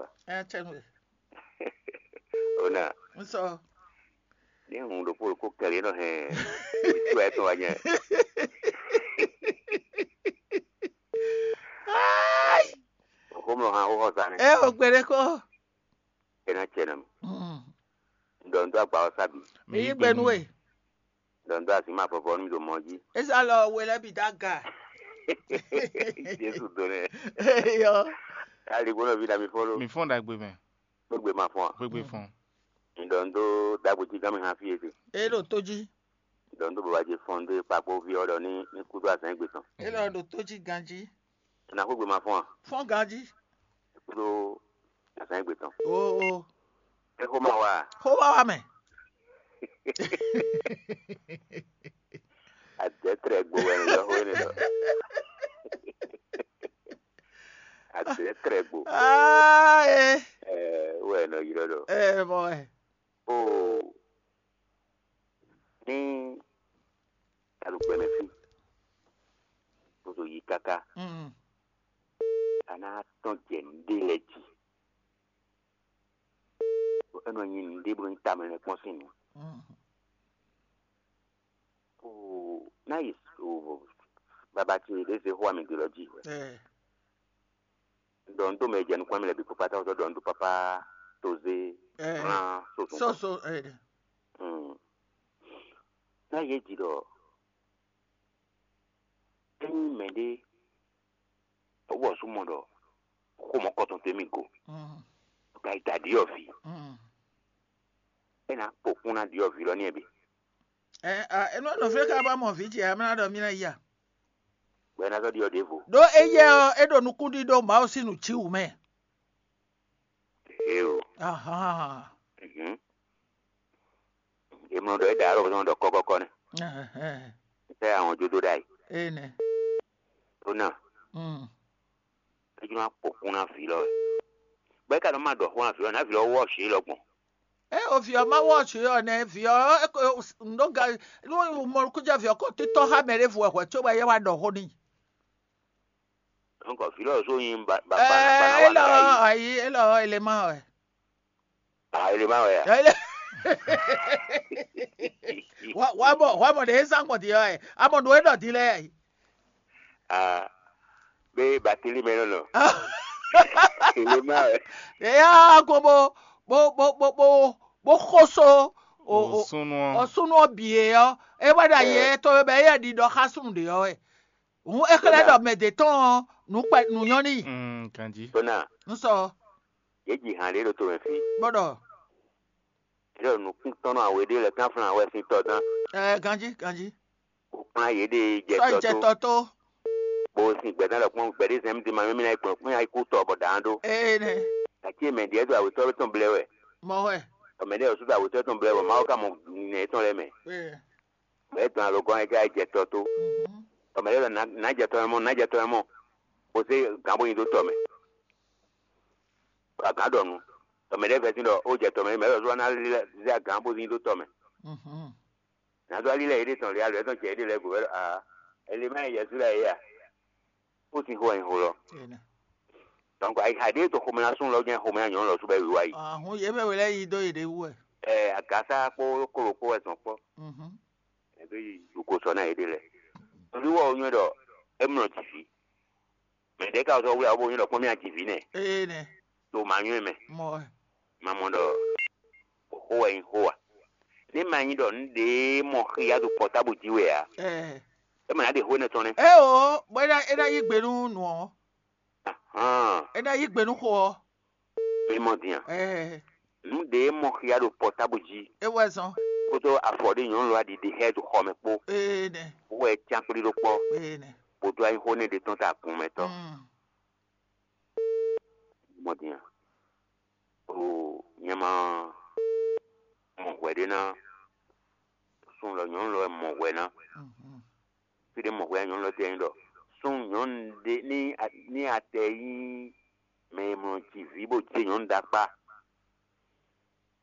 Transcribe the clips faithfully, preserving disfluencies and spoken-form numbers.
Ɛ cɛ nwe. Ona, N sɔ. ní hun ɖokpó ɖokpó kɛlɛ nɔ hɛn. Ìtú ɛ tɔn wá nyɛ. Xomlɔ hã xó xɔ sa nɛ. Ɛ o gbɛɖe kɔ. Ena cɛ nɔ mi. Mm. Ɖɔ n dó agba ɔ sábì. Mi yí gbɛ nú we. Ɖɔ n dó asi ma fɔfɔ nú mi ɖo mɔ jí. Esa lɔ we lɛ bi da ga. Jésù do nɛ. Eyɔ. Ali gbɔdɔ vi dami fɔlɔ. Mi fɔn ɖagbe mɛ, Gbogbo ma fɔn. Gbegbe fɔn. Ɖɔ n dó dagbo jí gán mi hã fi ete. E ɖo tó jí. Ɖɔ n dó baba jí fɔn dó kpakpo vi ɔ́ ɖɔ ní ní kúdó azán gbé tɔn. E lɔ ɖo tó jí ganjí. Na kó gbé ma fɔn a? Fɔn ganjí. Kúdó azán gbé tɔn. O o. Ẹ kó ma wá a? Xó wá wá mɛ. Adɛtrɛ gbo wɛ ní yɔxó énɛ́ ɖɔ. Adɛtrɛ gbo. Aa e. Ɛ wɛ nɔ yi ɖɔ ɖɔ. Ɛ mɔ ɛ. Oo. Ní alùpùpù mɛ fí. Kótó yi káká. Mm, A ná tɔn jɛ nǔɖé lɛ jí. Bɔ é nɔ nyi nǔɖé bó nyi tamɛ lɛ kpɔ́n sín nǔ. Mm, Oo, ná yi o baba ce ɖě zé xó ami gbe lɔ jí. ɛ. Ɖɔ n dó mɛ jɛ nukún ami lɛ bǐ kpókpátá wotɔ ɖɔ n dó papá tozé Ɛ. hlan soso. Soso ɛ. Mm. Ná yě ji ɖɔ ényí mɛɖé wɔ súnmɔ ɖɔ xó mɔ̌kɔtɔn tó émí go, Mm, ka yi da ɖyɔ̌vǐ, mm. é ná kpokún ná ɖyɔ̌vǐ lɔ ní ɛ bǐ. Ɛ a enú ɔ́ nɔ fí ká bá mɔ vǐ ce amlá ɖɔ mí ná ya. Bɔ é ná sɔ́ ɖyɔ̌ ɖěvo. Ɖó éyɛ ɔ́ é ɖo nukúnɖíɖó Mawu sín nǔ cí wǔ mɛ. Eo. Ahan. Mhm. Emlɔ ɖɔ é ɖa alɔ bɔsɔn ɖɔ kɔkɔkɔ nɛ. Ɛhɛn. Sɛ àwọn jódó ɖa yi. Ene. Tó náà, Mm. é jẹ́ máa kpokún ná vǐ lɔ wɛ. Bɔ é ka nɔ má ɖɔ xó ná vǐ lɔ ná vǐ lɔ wɔ ṣě lɔ gbɔn. E o vǐ ɔ́ má wɔ sǔ ɔ́ nɛ vǐ ɔ́ ŋɖó ga nú mɔlukújɛ vǐ ɔ́ kó títɔ́ xá mɛ ɖěvo wɛ hwɛ̌ cóbɔ é wá ɖɔ xó n'i. Donc vǐ lɔ zó nyi ba ba Ɛɛ ba élɔ ba ayi élɔ élémà wɛ. Ah, ele ma wɛ ya. Ele wa wa mɔ wa mɔ ɖe zan gbɔn di ɔ ɛ amɔ nù é ɖɔ di lɛ. Ah, be batili mɛ nɔ nɔ. Ele ma wɛ. Eya ko bo bo bo bo bo bo xoso o o Òsúnú o ɔ́. Súnú ɔ́ bǐ e ɔ́ é wá ɖo ayi ɛ tɔn bɛ é ɖi ɖɔ xá súnnu ɖě ɔ́ wɛ. Hǔn é xlɛ́ ɖɔ mɛ ɖě tɔn ɔ́ nǔ kpɛ nǔ nyɔ́ n'i. Mm, ganjí. Tona, Ń sɔ ye ji hàn ɖe ɖo to mɛ fi. Bó ɖɔ Ɖo nukúntɔ́nɔ awe ɖe le kánflán wɛ sín tɔ dán. ɛ ganjí ganjí. Kó kplán yě ɖe jɛ Sɔ tɔ jɛ tó. Tɔ tó. Bó sin gbɛdán lɔ kpɔn gbɛdí zɛm di ma mímí na gbɔn kún ayikú tɔ bɔ dǎn ɖó. Ee nɛ Àti mɛ ɖíɛ do awetɔ tɔn blɛ wɛ. Mɔ wɛ. Ɔmɛ ɖe ɔsú do awetɔ tɔn blɛ wɛ. Mawu ka mɔ nɛ tɔn lɛ mɛ. Ee. Bɛ dɔn alo gɔn ɛ ká jɛ tɔ tó. Mhm. Ɔmɛ ɖe lɔ nà jɛ tɔ mɔ nà jɛ tɔ mɔ. Kó sé gǎn bó nyi dó tɔ mɛ. Agǎn ɖɔ nu. Ɔmɛ ɖe fɛ sín ɖɔ ó jɛ tɔ mɛ mɛ lɔ zɔ ná lé zé agǎn bó nyi dó tɔ mɛ. Mhm. Nado ali lɛ yede tɔn le alo etɔn cɛ yede lɛ go wɛ a ele ma yɛ su la ye a. Ó ti xo ɛn xo lɔ. Ee nɛ. Donc ayi xa ɖe to xɔmɛ na sún lɔ jɛ xɔmɛ na nyɔnu lɔ su bɛ wiwa yi. Ahun yě mɛ wɛ lɛ yi dó yě ɖe wú ɛ. Ɛ agasa kpó kolo kpó wɛ zɔn kpɔ. Mhm. Ɛbí yi ko sɔ na yede lɛ. Torí wɔ nyɔ ɖɔ emlɔ ti fi. Mɛ ɖe ka sɔ wuli abo nyɔ ɖɔ kpɔmi ati fi nɛ. Ee nɛ. To ma nyɔ mɛ. Mɔ wɛ. Ma mɔ ɖɔ xó wɛ nyi xó wa. Ne ma nyi ɖɔ nu ɖe mɔ xia ɖo pɔtabu ji wɛ a. Ɛɛ. E ma na ɖe xó ne tɔn nɛ. E o bɔ e na e na yí gbe nú nù ɔ. Hàn E na yí gbe nú xo ɔ. mi mɔ diyan. Ɛɛ. Nu ɖe mɔ xia ɖo pɔtabu ji. E wɛ zɔn. Kótó afɔ ɖe nyɔnu lɔ aɖiɖi xɛ ɖo xɔ mɛ kpó. Ee nɛ. Wɛ can kpli ɖo kpɔ. Ee nɛ. Bodo ayi xó ne ɖe tɔn ta kun mɛ tɔ. Mm. Mɔ diyan. O nyɛ ma mɔ hwɛ ɖe na. Sun lɔ nyɔnu lɔ mɔ hwɛ na. Mhm. Fi ɖe mɔ hwɛ nyɔnu lɔ tɛ nyi ɖɔ. Sun nyɔnu ɖe ní a- ní atɛ yí mɛ e mlɔ ji vi bó je nyɔnu ɖakpa.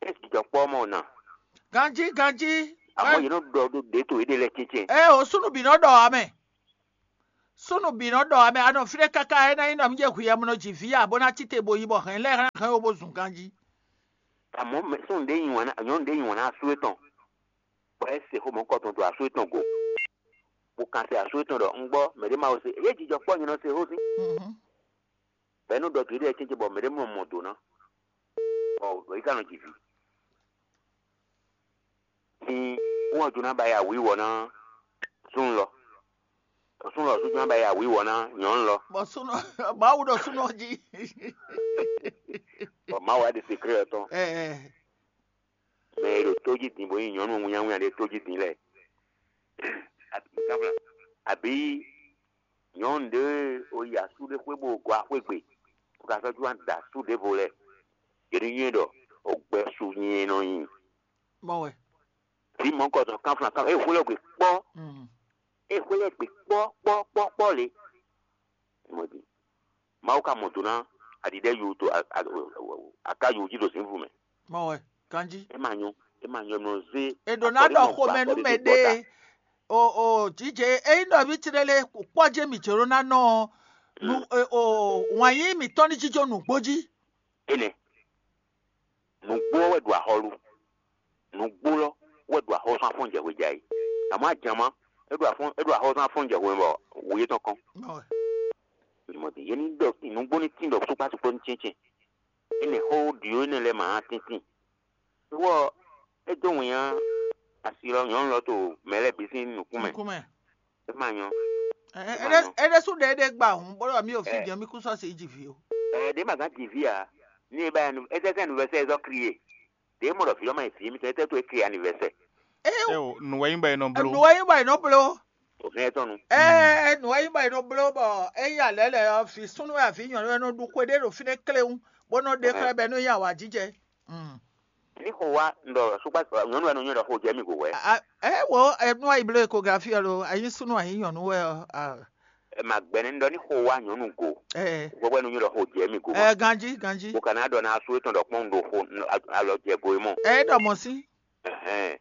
Esi jɔ kpɔ mɔ na. Ganji ganji. Àmọ́ yìí ló ɖɔ ɖó ɖě tó yìí ɖe lɛ tsɛtsɛ. Ɛ o sunu bi nɔ ɖɔ amɛ. Súnnu bǐ nɔ ɖɔ amɛ anɔ fínɛ́ káká é ná nyí nɔ mí jɛ hwi amɔnɔ ji vǐ ǎ bó ná cí te bo yi bɔ hɛn lɛ́ɛ hɛn ó bó zun ganjí. Amɔ̌ mɛ súnnu ɖé nyi wǎn ná nyɔ̌nu ɖé nyi wǎn ná asú étɔn, bɔ é se xó mɔ̌kɔtɔn dó asú étɔn go, bó kan se asú étɔn ɖɔ un gbɔ mɛ ɖé ma wo se, é jijɔ kpɔ́ nyɛ nɔ se xó sín. Bɔ é nɔ ɖɔ dǒ ɖé cɛ́ncɛ́n bɔ mɛ ɖé mɔ mɔ dǒ ná, bɔ ɖɔ yi ka nɔ ji vǐ. Sin wɔ jó ná ba ya wǐwɔ ná súnnu lɔ. Súnnu lɔ sú jó ná ba ya wǐwɔ ná nyɔ̌nu lɔ. Bɔ súnɔ Mawu ɖo súnɔ jí. Bɔ Mawu wá ɖe sekré ɔ́ tɔn. Ɛ ɛ. Mɛ e ɖo tó jí din bó nyí nyɔ̌nu wínnyáwínnyá ɖé tó jí din lɛ́ɛ. Abǐ nyɔ̌nu ɖé o yi asú ɖé xwé bó gɔ axwé gbe, bó ka sɔ́ jó wá da asú ɖěvo lɛ́ɛ. Yě ní nywɛ́ ɖɔ o gbɛ su nyɛ nɔ nyi. Mɔ wɛ. Vǐ mɔ̌kɔtɔn kánflán kánflán é hwlɛ́ gbe kpɔ́. Mm. É hwlɛ́ gbe kpɔ́ kpɔ́ kpɔ́ kpɔ́ lě. Mɔ din. Mawu ka mɔ do ná aɖiɖɛ yu to aká yu jí ɖo zǐnflú mɛ. Mɔ wɛ. Ganjí. É ma nyɔ é ma nyɔ nɔ zé. È ɖǒ ná ɖɔ xomɛ nú mɛ ɖé. O o jǐjɛ ényí ɖɔ mì tlélé kpɔ́ jɛ mì jǒ ná nɔ ɔ́, nu o wǎn yíyí mǐtɔn ní jínjɔ́n nǔgbó jí. Énɛ́. Nǔgbó ɔ́ wɛ ɖo axɔ́lú. Nǔgbó lɔ wɛ ɖo axɔ́sán afɔ́n jɛ hwe jɛ ayǐ. Amɔ̌ ajǎnmá é ɖo afɔ́n é ɖo axɔ́sán afɔ́n jɛ hwe bɔ wǔ yětɔn kɔn. Mɔ din yě ní ɖɔ nǔgbó ní tín ɖɔ sukpá sukpó ní cɛ́ncɛ́n. Énɛ́ xó ɖyǒ énɛ́ lɛ́ɛ ma ná tíntín. Wɔ é dó wǐnnya asi lɔ nyɔ̌nu lɔ to mɛ lɛ́ɛ bǐ sín nukún mɛ. Nukún mɛ. É ma nyɔ. Ɛ, ɛ, é ɖésú ɖe éɖée gba hǔn bó ɖɔ mí ɖo fí jɛ́n mí kún sɔ́ se yi ji vǐ ó. Ɛ ɖě ma gán ji vǐ ǎ. Ní e ba anniv- é tɛ́ anniversaire zɔ́ kriye. Ɖě mɔ ɖɔ vǐ ɔ́ ma yi vǐ mitɔn é tɛ́ tó é kriye anniversaire. Eo, nǔ wɛ nyí bɔ è nɔ bló. Nǔ wɛ nyí bɔ è nɔ bló. O hɛn tɔn nu. Ɛ nǔ wɛ nyí bɔ è nɔ bló bɔ é nyí alɛ lɛ ɔ́, vǐ súnnu wɛ avǐ nyɔ̌nu wɛ nɔ ɖu xwe ɖé ɖo fínɛ́ kléwún, bó nɔ ɖe xlɛ́ bɔ é nɔ nyi awǎjijɛ. Ní xo wá un ɖɔ sukpá nyɔ̌nu wɛ nɔ nywɛ́ ɖɔ xo jɛ mì go hwɛ̌. Ɛ wo ɛ nú ayi bló ekografi ɔ́ lo, ayi súnnu ayi nyɔ̌nu wɛ ɔ́. Ɛ ma gbɛ́ nɛ́ un ɖɔ ní xo wá nyɔ̌nu go. Ɛ Hwɛhwɛ nɔ nywɛ́ ɖɔ xo jɛ mì go. Ɛ ganjí ganjí. Bó ka ná ɖɔ ná asú étɔn ɖɔ kpɔ́n un ɖo xo alɔ jɛ go e mɔ. Ɛ é ɖɔ mɔ̌ sí. Ɛhɛn.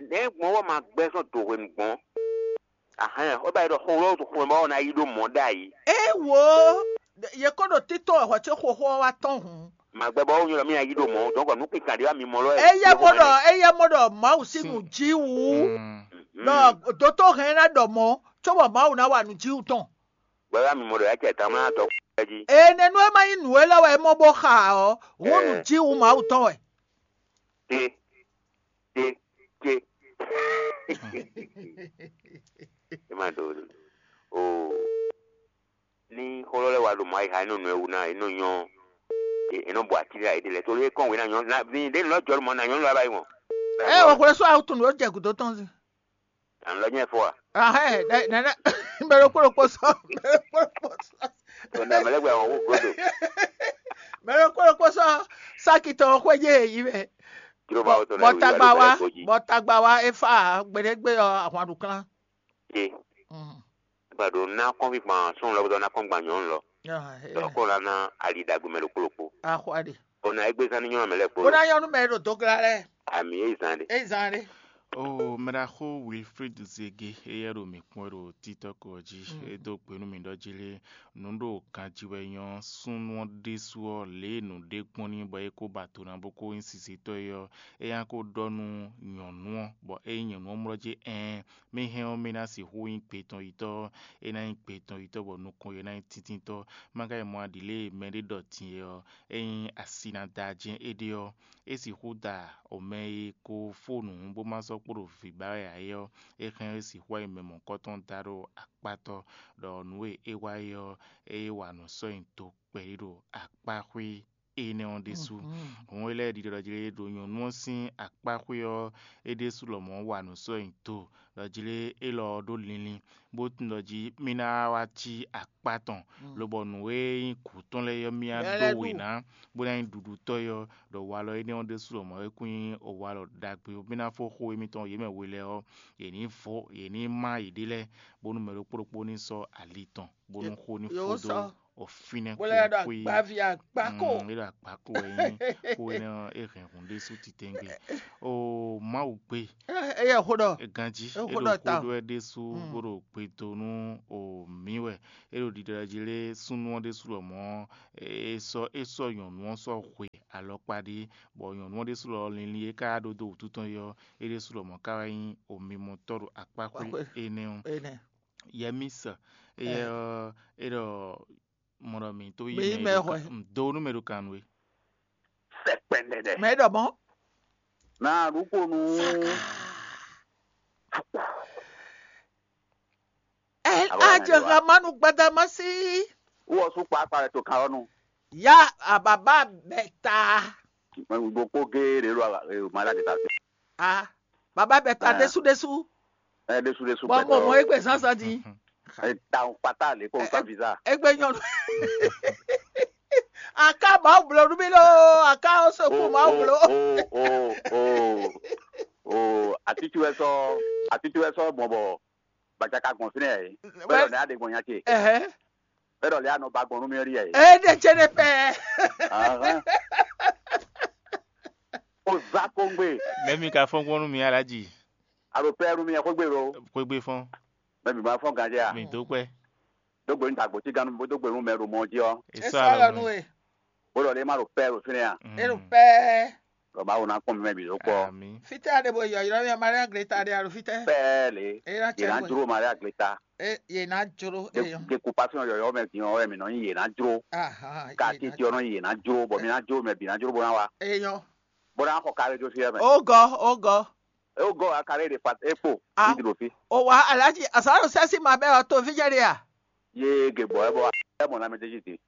Nɛ̌ gbɔn wɔ ma gbɛ́ sɔ́ do hwenu gbɔn? Ahɛn, ó ba yi ɖɔ xo lɔ xo mɛ ɔ́ ná yi ɖó mɔ̌ ɖ'ayǐ. Ée wo, yě kó ɖo títɔn wɛ hwɛ có xóxó ɔ́ wá tɔ́n hǔn. Màgbɛ bɔ ó nyɔ́ ɖɔ mí ná yí ɖó mɔ̌, dɔ̌nkɔ nǔkpínkàn ɖé wá mi mɔ lɔ wɛ. Éyɛ́ mɔ ɖɔ éyɛ́ mɔ ɖɔ Mawu sín nǔ jí wú ɖɔ dótó hɛn ná ɖɔ mɔ̌, cóbɔ Mawu ná wa nǔ jí wú tɔn. Gbɛ wá mi mɔ ɖɔ yá cɛ tán má tɔ jí. Énɛ́ nú é má nyí nǔ élɔ́ wɛ é mɔ bó xa ɔ́, hǔn nǔ jí wú Mawu tɔn wɛ. Té, té, té. É má ɖó o. Ní xó lɔ lɛ́ wá ɖo mɔ̌ ayixa énɔ́ nɔ ɛ wú ná é nɔ nyɔ́ é nɔ bɔ atílɛ ayéɖé lɛ́ɛ tóli é kɔn wě ná nyɔ́ ná vǐ ɖé nǔ lɔ jɔ́ mɔ̌ ná nyɔ́nu lɛ́ɛ wá yi wɔn. Ɛ wɔ xwlɛ sɔ́ awu tun ɖó jɛ gǔdo tɔn zin. Àn lɔ nyɛ fɔ a? Ahɛ nɛnɛ mɛ ɖokpó ɖokpó sɔ mɛ ɖokpó ɖokpó sɔ. Tɔnda mɛ lɛ gbɛ wɔn wú godo. Mɛ ɖokpó ɖokpó sɔ sáki tɔn xwé jɛ yi mɛ. Jíròbá wotɔ náà wí wá ló bẹ̀rẹ̀ kó jí. Bɔ tagba wa é fa gbɛɖɛgbɛ ɔ ahwan ɖo klán. Ṣe. Gbàdo ná kɔn fi gbɔn sún lɔ bó ná kɔn gbɔn nyɔnu lɔ. Lɔ kó la ná ali dagbe mɛ ɖokpó ɖokpó. Axɔ aɖe. Ona egbe zan ní nyɔnu mɛ lɛ kpó. Bó ná nyɔnu mɛ ɖo dogla lɛ. Ami e zan ɖe. E zan ɖe. O mɛɖaxó Wilfrid Zege, éyɛ́ ɖo mǐ kpɔ́n ɖo TikTok ɔ́ jí. É dó gbe nú mì ɖɔ jí lé, nǔ ɖo ganjí wɛ nyɔ́ súnnu ɔ́ ɖésú ɔ́, lě e nǔ ɖe gbɔn n'i bɔ é kó ba do ná bó kó nyí sisitɔ́ é ɔ́, é ná kó ɖɔ nú nyɔ̌nu ɔ́, bɔ ényí nyɔ̌nu ɔ́ mlɔ́ jí ɛɛn, mì hɛn ɔ́, mì ná sixú nyí gbetɔ́nyitɔ́, é ná nyí gbetɔ́nyitɔ́ bɔ nukɔn yě ná nyí tíntítɔ́. Má ka yi mɔ aɖǐ lě e mɛɖé ɖɔ din é ɔ́, ényí asi ná da jɛ́n éɖée ɔ́, é sixú da o mɛ e ko fó nǔ bó má sɔ́ kpo ɖo vǐ ba wɛ ǎ é ɔ́, é hɛn é sixú wá yi mɛ mɔ̌kɔtɔn da ɖo akpátɔ́, ɖɔ nǔ e é wa é ɔ́, é wa nǔ sɔ́ nyi do kpɛɖé ɖo akpáxwé énɛ́ ɔ́ ɖésú. Hǔn é lɛ́ɛ ɖiɖɔ ɖɔ jlé ɖo nyɔ̌nu ɔ́ sín akpáxwé ɔ́, é ɖésú lɔmɔ̌ wa nǔ sɔ́ nyi do ɖɔ jlé élɔ́ ɔ́ ɖó linlin, bó tunwun ɖɔ jí mì ná wá cí akpá tɔn, lobɔ nǔ e nyí gǔ tɔn lɛ́ɛ ɔ́, mì ná ɖó wě ná, bó ná nyí ɖuɖutɔ́ é ɔ́, ɖɔ walɔ énɛ́ ɔ́ ɖésú lɔmɔ̌ é kún nyí walɔ ɖagbe ɔ́. Mì ná fó xó émítɔn yě mɛ we lɛ́ɛ ɔ́, yě ní vɔ yě ní má yěɖée lɛ́ɛ, bónú mɛ ɖokpó ɖokpó ní sɔ́ ali tɔn, bónú xó ní fó dó o fínɛ́ kó xwé. Bó lɛ́ ɖɔ agbaví agbáko. Mm, é ɖo agbáko wɛ nyí xó énɛ́ ɔ́, é hɛn hǔn ɖésú titewungbe. O Mawu gbe. Éyɛ xó ɖɔ. Ganjí é ɖo xó ɖɔ ta. Xó ɖɔ wɛ ɖésú bó ɖo gbe dó nú o mǐ wɛ. É ɖo ɖiɖɔ jí lé súnnu ɔ́ ɖésú lɔmɔ̌ é sɔ́ é sɔ́ nyɔ̌nu ɔ́ sɔ́ hwe alɔkpa ɖé, bɔ nyɔ̌nu ɔ́ ɖésú lɔ linlin e ka ɖó dó wǔtu tɔn é ɔ́, é ɖésú lɔmɔ̌ ka wá nyí omimɔtɔ́ ɖo akpáxwé énɛ́ ɔ́. Yɛmísɔ, éyɛ́ ɔ́, é ɖɔ mɔ ɖɔ mǐ tó yí mɛ ɖo kan nú we. Sɛkpɛndɛdɛ. Mɛ ɖɔ mɔ. Na ɖukonu. Ɛ Alo, ajɔ nya ɖe wa. Hamanu gbadamasi. Wɔ sú kpakpa lɛ to kan ɔ́ nu. Ya ababa bɛ ta. Ɖokpó géé ɖě ɖo mala ɖě ta fi. A baba bɛ ta Ɛ. Ɖésú ɖésú. Ɛ ɖésú ɖésú Bɔ gbɛtɔ. Mo mɔ egbe zánzán di. Ɛ ta ŋu kpata lě kó ŋu sa visa. Egbe nyɔnu. Aka Mawu blo nú mi lo. Aka o sɔkú Mawu blo. O o o o atití wɛ sɔ atití wɛ sɔ gbɔn bɔ gbadza ka gbɔn fínɛ́ yɛ. Bɛ́ ɖɔ lɛ aɖe gbɔn nya ce. Ɛhɛn. Bɛ́ ɖɔ lɛ anɔ ba gbɔn nú mì ɔ́ ɖi yɛ. E ɖe tse ɖe pɛ. Ahán. O za kongbe. Mɛmi ka fɔn gbɔn nú mi alaji. Alo pɛ nú mi xwégbe lo. Xwégbe fɔn. Mɛmi ma fɔn ganjɛ a. Mi dó kpɛ. Dógbe nu dagbo tí ganu bó dógbe nu mɛ ɖo mɔ jí ɔ. Esɔ alɔ nu e. Bó ɖɔ lé ma ɖo pɛ ɖo fínɛ́ a. E ɖo pɛ. Lɔ Mawu ná kpɔn mɛ bǐ ɖó kpɔ. Àmín. Fítɛ́ a ɖe bo yɔ ylɔ́ mì Maria Greta ɖe alo fítɛ́? Pɛɛ le. Eye ná Yě ná cɛ jló Maria Greta. E yě ná jló eyɔn. Dekupasiɔn yɔyɔ mɛ din ɔ́ wɛ mǐ nɔ nyi yě ná jló. Ahan. Ka titi ɔ́ nɔ nyi yě ná jló bɔ mǐ ná jló mɛ bǐ ná jló bó ná wá. Eyɔn. Bó ná xɔ kárí jó fí ɛ mɛ. Ó gɔ, ó gɔ. É wó gɔ́ wá ka lɛ́ ɖe fa é kpo. Ah. Ní dlo fí. O wa alaji asaro sɛsi ma bɛ ɔ to vijɛ ɖe a? Yé ge gbɔ ɛ bɔ ɛ mɔ na mɛ tɛji te.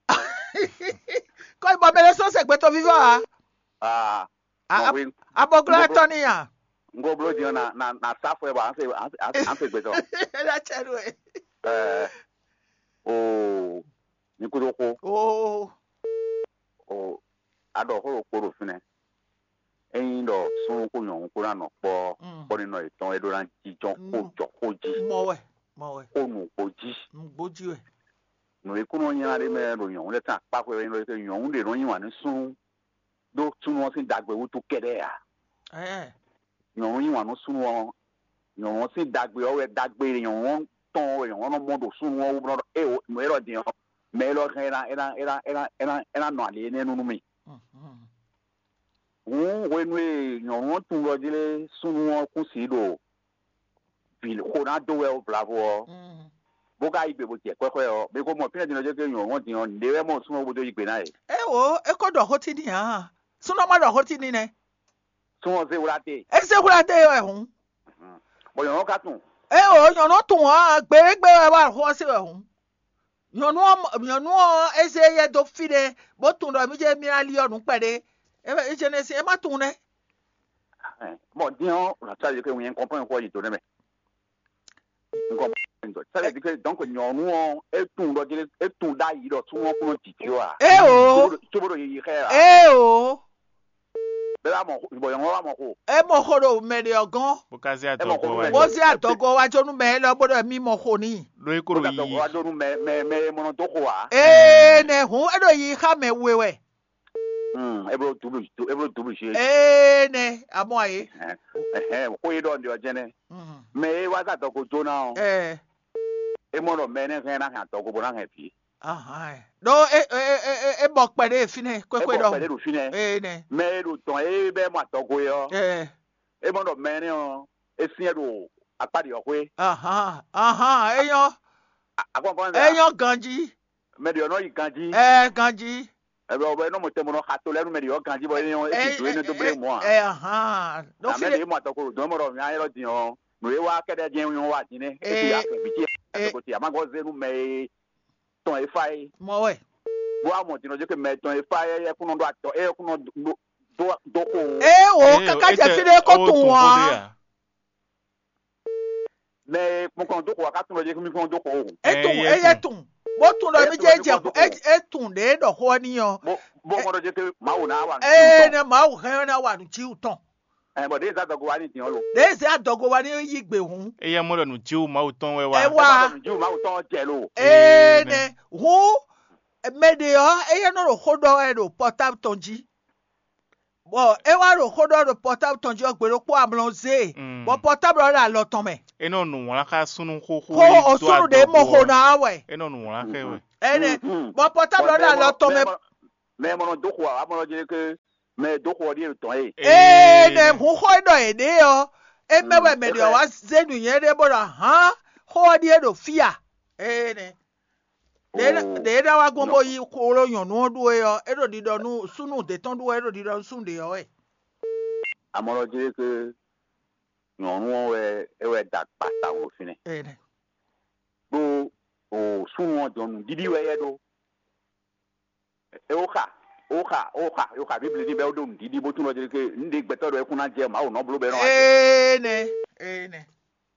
Kɔ ibɔ mɛ lɛ sɔ sɛ gbɛtɔ vivɔ a? Ah. A- Mɔ a- wí. Abɔglo atɔ ni a? Ngo blo diɔ na na na sa fɔ ɛ bɔ an se an se- an se- an se gbɛtɔ. Ela cɛ do e. Ɛɛ. Oo. Ní kúdó kó. Oo. Oo. A ɖɔ xó ɖokpó ɖo fínɛ́. Ényí ɖɔ súnnu kó nyɔ̌nu kó ná nɔ kpɔ́ Mm. Kpɔ́ nínɔ yětɔn é ɖó ná jínjɔ́n xó Mm. Jɔ xó jí, Mɔ wɛ, mɔ wɛ. Xó nǔgbó jí. Nǔgbó jí wɛ. Nǔ e kún nɔ nylá ɖé mɛ ɖo nyɔ̌nu lɛ́ɛ tɔn akpá xwé wɛ nyí ɖɔ nyɔ̌nu ɖě nɔ yí wǎn nú súnnu ɖó súnnu ɔ́ sín ɖagbe wútu kɛ́ɖɛ́ ǎ. Ɛɛ. Nyɔ̌nu yí wǎn nú súnnu ɔ́, nyɔ̌nu ɔ́ sín ɖagbe ɔ́ wɛ ɖagbe e nyɔ̌nu ɔ́ tɔn ɔ́ wɛ nyɔ̌nu ɔ́ nɔ mɔ ɖo súnnu ɔ́ wú bɔ é wǒ mɛ élɔ́ din ɔ́, mɛ élɔ́ hɛn é ná é ná é ná é ná é ná nɔ ali énɛ́ nú mì. Mhm. Hǔn hwenu e nyɔ̌nu ɔ́ tunwun ɖɔ jí lé súnnu ɔ́ kún si ɖo vǐ xo ná dó wɛ ó vlavo ɔ́, Mm. Bó ka yí gbe bó jɛ kwɛ́xwɛ ɔ́, mi ko mɔ fínɛ́ din ɔ́ jɛ ké nyɔ̌nu ɔ́ din ɔ́, nǔɖé wɛ mɔ súnnu ɔ́ bó dó yí gbe ná yě. É wǒ, é ko ɖɔ xó tí n'i ǎ. Súnnu ɔ́ ma ɖɔ xó tí n'i nɛ́. Súnnu ɔ́ zé wlá te. É zé hwlá dó e wɛ hǔn. Bɔ nyɔ̌nu ɔ́ ka tunwun. É wǒ, nyɔ̌nu ɔ́ tunwun ǎ, gbe e gbe wɛ wá xó ɔ́ se wɛ hǔn. Nyɔ̌nu ɔ́, nyɔ̌nu ɔ́, é zé yɛ dó fí ɖé, bó tunwun ɖɔ mí jɛ mí ná li ɔ́ nǔ kpɛɖé. É jɛnɛsin é ma tunwun nɛ́. Bon, din ɔ́, la ça veut dire que un comprend quoi il donne mais. Un comprend. Ça veut dire que donc nyɔ̌nu ɔ́, é tunwun ɖɔ jí é tunwun ɖ'ayǐ ɖɔ súnnu ɔ́ kún nɔ jǐjɔ́ ǎ. É o. Cóbó ɖo yiyi xɛ ǎ. É o. Bɛ́ wá mɔ bɔ nyɔ̌nu ɔ́ wá mɔ xo. É mɔ xo ɖo mɛ ɖe ɔ́ gɔ́n. Bó ka zé adɔgo wá. Bó zé adɔgo wá jó nú mɛ élɔ́ bó ɖɔ mí mɔ xo n'i. Ɖó é kó ɖo yiyi. Bó zé adɔgo wá jó nú mɛ mɛ mɛ e mɔ nɔ dó xo ǎ. Ee nɛ hǔn é ɖo yiyi xá mɛ we wɛ. Hmm, é bló double é bló double jeu. Ee nɛ amɔ ayi. Ɛhɛn, xó e ɖɔ un ɖe ɔ́ jɛnɛ. Mhm. Mɛ e wá zé adɔgo jó ná ɔ́, Ɛɛ. É mɔ ɖɔ mɛ énɛ́ hɛn ná hɛn adɔgo bó ná hɛn vǐ. Ahan. Ɖó é é é é é bɔ kpɛɖé fínɛ́ É kwékwé bɔ ɖɔhun. Kpɛɖé ɖo fínɛ́. Ee nɛ. Mɛ e ɖo dɔn é bɛ mɔ adɔgo é ɔ́, Ɛɛ. É mɔ ɖɔ mɛ énɛ́ ɔ́, é syɛ́n ɖo akpá ɖě ɔ́ xwé. Ahan ahan é nyɔ́. Akɔnkɔn é nyɔ́ ganjí. Mɛ ɖě ɔ́ nɔ yi ganjí. Ɛɛ ganjí. Ɛbɛ ɔbɛ nɔ mɔ tɛmɛ nɔ xa to lɛ nú mɛ ɖě ɔ́ ganjí bɔ é nyɔ́ é ti dó é nɔ dó blé mɔ a. Ɛ ahan. Nɔ Amɛ fí ɖě mɔ atɔkolo dɔn mɔ ɖɔ nya yɛlɔ din ɔ́, nǔ e wá kɛɖɛ jɛ nyɔ́ wá din nɛ. É ti Ee. Akɛ vǐ ce Ee. Atɔkolo ti a ma gɔ́ zé nú mɛ e tɔn e fá é. Mɔ wɛ. Bó wá mɔ din ɔ́ jẹ́ pé mɛ tɔn e fá é é kún nɔ ɖó atɔ é kún nɔ ɖó dó dó xo. Ee o Ee, kaka é jɛ tɛ- fí ɖé kó ó tún tunwun xó ɖé ɔ́. Ǎ. Mɛ e kpɔnkɔn dó xo a ka tún lɔ jɛ kí mi kpɔn dó xo o. É tún Ɛ, yɛ é yɛ tún. Tún. Bó tún lɔ É mi tún jẹ́ lɔ jẹ́ jẹ́ jɛ kó é tún. É tún ɖě ɖɔ xó ɔ́ ní ɔ. Bó bó mɔ ɖɔ jẹ́ pé Mawu ná wà ní Ee tún. Nɛ Mawu hɛn ná wà nú Jiwu tɔn. Ɛ bɔ ɖě zá dɔgo wa ní dín ɔ́ lo. Ɖě zé adɔgo wa ní yí gbe hǔn. Eye mɔ ɖɔ nǔ Jiwu Mawu tɔn wɛ wá. Ɛ Ɛ wá. Bɔ nǔ Jiwu Mawu tɔn jɛ lo. Ee Ee, nɛ hǔn Mɛ ɖě ɔ́, éyɛ́ nɔ ɖo xó ɖɔ wɛ ɖo pɔtáb tɔn jí, bɔ é wá ɖo xó ɖɔ ɖo pɔtáb tɔn jí ɔ́, gbe ɖokpó amlɔ zé e, bɔ pɔtáb ɔ́ ɖo alɔ tɔn mɛ. É nɔ nǔ wlán xá súnnu xóxó Xó e dó osúnnu ɖě mɔ xo ná wɛ. É nɔ nǔ wlán xá ɛ wɛ. Énɛ́, bɔ pɔtáb ɔ́ ɖo alɔ tɔn mɛ. Mɛ e mɔ nɔ dó xo ǎ, wá mɔ nɔ jlé ké mɛ e dó xo ɔ́ ɖíe ɖo tɔn e. Énɛ́, hun xó e ɖɔ yě ɖe ɔ́, é mɛ wɛ mɛ ɖě ɔ́ wá zé nǔnywɛ́ ɖé bó ɖɔ hǎn, xó ɔ́ ɖíe ɖo fí a? Énɛ́. Ɖě ɖě é ná wá gbɔn bó yí xwló nyɔ̌nu ɔ́ ɖu é ɔ́, é ɖo ɖiɖɔ nú súnnu ɖě tɔn ɖu wɛ, é ɖo ɖiɖɔ nú súnnu ɖě ɔ́ wɛ. Amɔlɔ jí é ké nyɔ̌nu ɔ́ wɛ é wɛ da gbata wo ɖo fínɛ́. Ɖó o súnnu ɔ́ jɔn nǔɖiɖi wɛ yɛ ɖó. É wó xa, wó xa, wó xa, wó xa Bíbli ní bɛ́ wó ɖó nǔɖiɖi bó tunwun ɖɔ jí ké nǔɖé gbɛtɔ́ ɖɔ é kún ná jɛ Mawu nɔ bló bɛ́ nɔ wá jɛ. Énɛ́, énɛ́.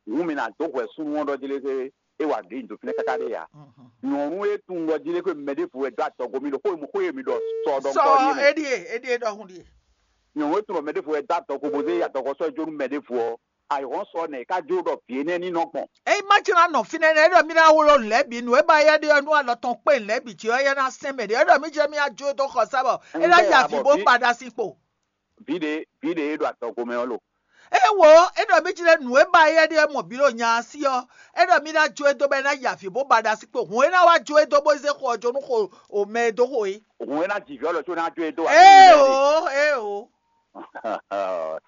Hǔn mi ná dó hwɛ súnnu ɔ́ ɖɔ jí lé ké é wa ɖě nyi do fínɛ́ káká ɖé ǎ. Nyɔ̌nu e tunwun ɖɔ jí lé ké mɛ ɖěvo wɛ dó adɔgo mi ɖo xó e mi xó e mi ɖɔ sɔ ɖɔ Sɔ ŋkɔ ɖíe mɛ. Éɖíe, éɖíe ɖɔhun ɖíe. Nyɔ̌nu e tunwun ɖɔ mɛ ɖěvo wɛ dó adɔgo bó zé adɔgo sɔ́ jó nú mɛ ɖěvo ɔ́, ayǐhɔ́n sɔ nɛ̌ é ká jó ɖɔ vǐ énɛ́ ní nɔ gbɔn? Ényí má jlá nɔ fínɛ́ nɛ́, é ɖɔ mí ná wló nǔ lɛ́ɛ bǐ, nǔ e ba yɛ ɖe ɔ́ nú alɔ tɔn kpé nǔ lɛ́ɛ bǐ jí ɔ́, é ná sɛn mɛ ɖě. É ɖɔ mí jlɛ́ mí ná jó e dó xɔsá bɔ é ná Ŋgbɛ́ ya ǎ vǐ bɔ bó vǐ- ba ɖa sin kpo. Vǐ ɖě vǐ ɖě e ɖo adɔgo mɛ ɔ́ lo. É wo, é ɖɔ mí jlɛ́ nǔ e ba yɛ ɖe ɔ́ mɔ bǐ ɖo nya ɔ́ sí ɔ́, é ɖɔ mí ná jó e dó bɔ é ná ya vǐ bó ba ɖa sin kpo. Hǔn é ná wá jó e dó bó zé xo ɔ́ jó nú xo o mɛ e dó xo é. Hǔn é ná ji vǐ ɔ́ lɔ có ná jó e dó wá. Éeǒ, éeǒ.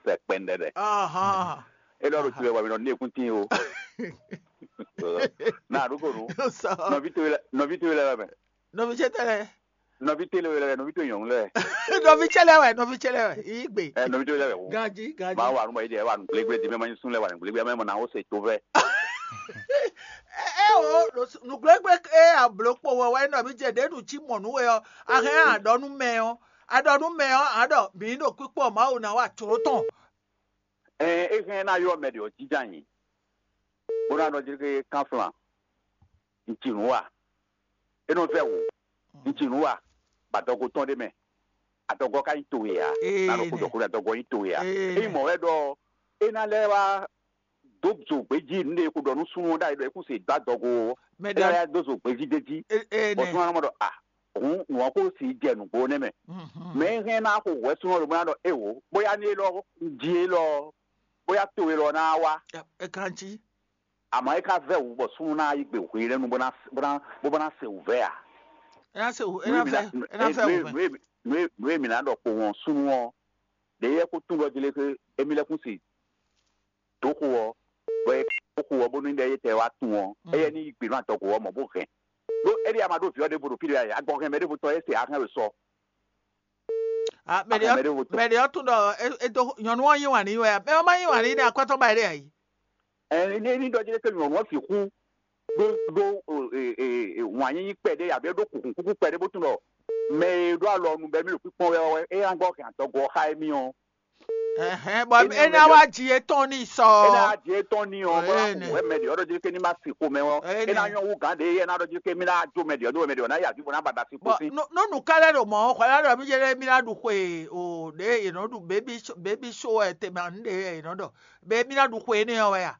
Sɛ kpɛndɛɖɛ. Ahán. É ɖɔ ɖo tibɛ bɔ mi nɔ ní ekún tín o. Na ɖokonu. Sɔ. Nɔví towe lɛ nɔví towe lɛ wɛ mɛ. Nɔví ce tɛ lɛ. Nɔví towe lɛ wɛ nɔví towe nyɔnu lɛ. Nɔví ce lɛ wɛ, nɔví ce lɛ wɛ. Yi gbe. Ɛ nɔví towe lɛ wɛ. Ganji, ganji. Ma wa nu ma yi de wa nu gblegble di mɛ ma nyi sun lɛ wa nu gblegble mɛ mɔ na wo se to vɛ. Ɛ ɛ o, nùgblégbé e ablǒkpo wɛ wɛ nɔví ce ɖě ɖu cí mɔ nǔ we ɔ́, a hɛn a ɖɔ nú mɛ ɔ́, a ɖɔ nú mɛ ɔ́, a ɖɔ mǐ ɖo kpíkpɔ́ Mawu ná wa jlǒ tɔn. Ɛn é hɛn ná ylɔ́ mɛ ɖě ɔ́ jínjɔ́n ayǐ, bó ná nɔ jlé ké kánflan, un ci nǔ wa. É nɔ vɛ́ wǔ, un ci nǔ wa, bɔ adɔgo tɔn ɖé mɛ. Adɔgo ɔ́ ka nyí towe ǎ. Ee, Ná ɖo kó ɖɔ kó ɖɔ adɔgo ɔ́ nyí towe ǎ. Ee, Ényí mɔ̌ wɛ ɖɔ é ná lɛ́ wá dó zo gbějí nǔ ɖé e ko ɖɔ nú súnnu ɔ́ ɖ'ayǐ ɖɔ é kún se dó adɔgo ɔ́, Mɛ é ná ɖɔ lɛ́ dó zo gbějí d'é jí. Ee, Bɔ nɛ. Súnnu ɔ́ nɔ mɔ ɖɔ a hǔn nǔ ɔ́ ko si jɛ nǔgbó nɛ́ mɛ. Mhm. Mɛ e hɛn ná xo hwɛ súnnu ɔ́ ɖo bó ná ɖɔ éwo, bóyá ní élɔ́ jí élɔ́, bóyá to élɔ́ ná wá. Ɛ kan jí. Àmọ́ é ká vɛ́ wǔ bɔ súnnu ná yi gbe hwelɛ́nu bó ná bó ná bó bó ná se wǔvɛ́ ǎ. Ɛ ná se wǔ, ɛ ná vɛ, ɛ ná vɛ wǔ vɛ. Nǔ e mǐ ná ɖɔ kpo wɔn súnnu ɔ́, ɖě yɛ kó tún ɖɔ jí lé xé émí lɛ́ kún se dǒ xo ɔ́, bɔ é dǒ xo ɔ́ bónú ɖɛ yé tɛ wá tún ɔ́, Mm. éyɛ́ ní yi gbe nú adɔgo ɔ́ mɔ̌ bó hɛn. Ɖó éɖée a ma ɖó vǐ ɔ́ ɖěvo ɖo fí ɖé ǎ, agɔ hɛn mɛ ɖěvo tɔn é se ahɛn wɛ sɔ. Ah, mɛ ɖě Ahɛn mɛ ɖěvo tɔn. Mɛ ɖě ɔ́ tún ɖɔ é é dó nyɔ̌nu ɔ́ yí wǎn n'i wɛ ǎ. Mɛ ɔ́ má yí wǎn n'i nɛ́ akwɛ́tɔ́ ba é ɖe ǎ yi. Ɛ ní ní ɖɔ jí lé ké nyɔ̌nu ɔ́ sixú ɖó ɖó wǎn yíyí kpɛɖé abǐ ɖó kǔkúkú kpɛɖé bó tún ɖɔ mɛ e ɖó alɔ nu bɔ émí ɖo kpíkpɔ́n wɛ ɔ́ wɛ é ná gbɔ hɛn adɔgo ɔ́ xá émí ɔ́. Ɛhɛn, bɔ Énɛ́ é ná mɛ wá ɖe- ji etɔn ní sɔ. É ná ji etɔn ní ɔ bó ná Ɛnɛ. Xo wɛ mɛ ɖě ɔ́ ɖɔ jí ké ní má si xomɛ ɔ́. Ɛnɛ. É ná nyɔ́ wú gǎn ɖě é ná ɖɔ jí ké mí ná jó mɛ ɖě ɔ́ ɖó mɛ ɖě ɔ́ ná yi avǐ bó ná ba ɖa sin Bɔn kpó sín. Nú nú nǔ ká lɛ́ ɖo mɔ̌ ɔ́, xɔ lɛ́ ɖɔ mí jɛ mí ná ɖu xwe o ɖě yě nɔ ɖu bébí bébí só wɛ tɛnmɛ anu ɖě yě nɔ ɖɔ bébí ná ɖu xwe énɛ́ ɔ́ wɛ a?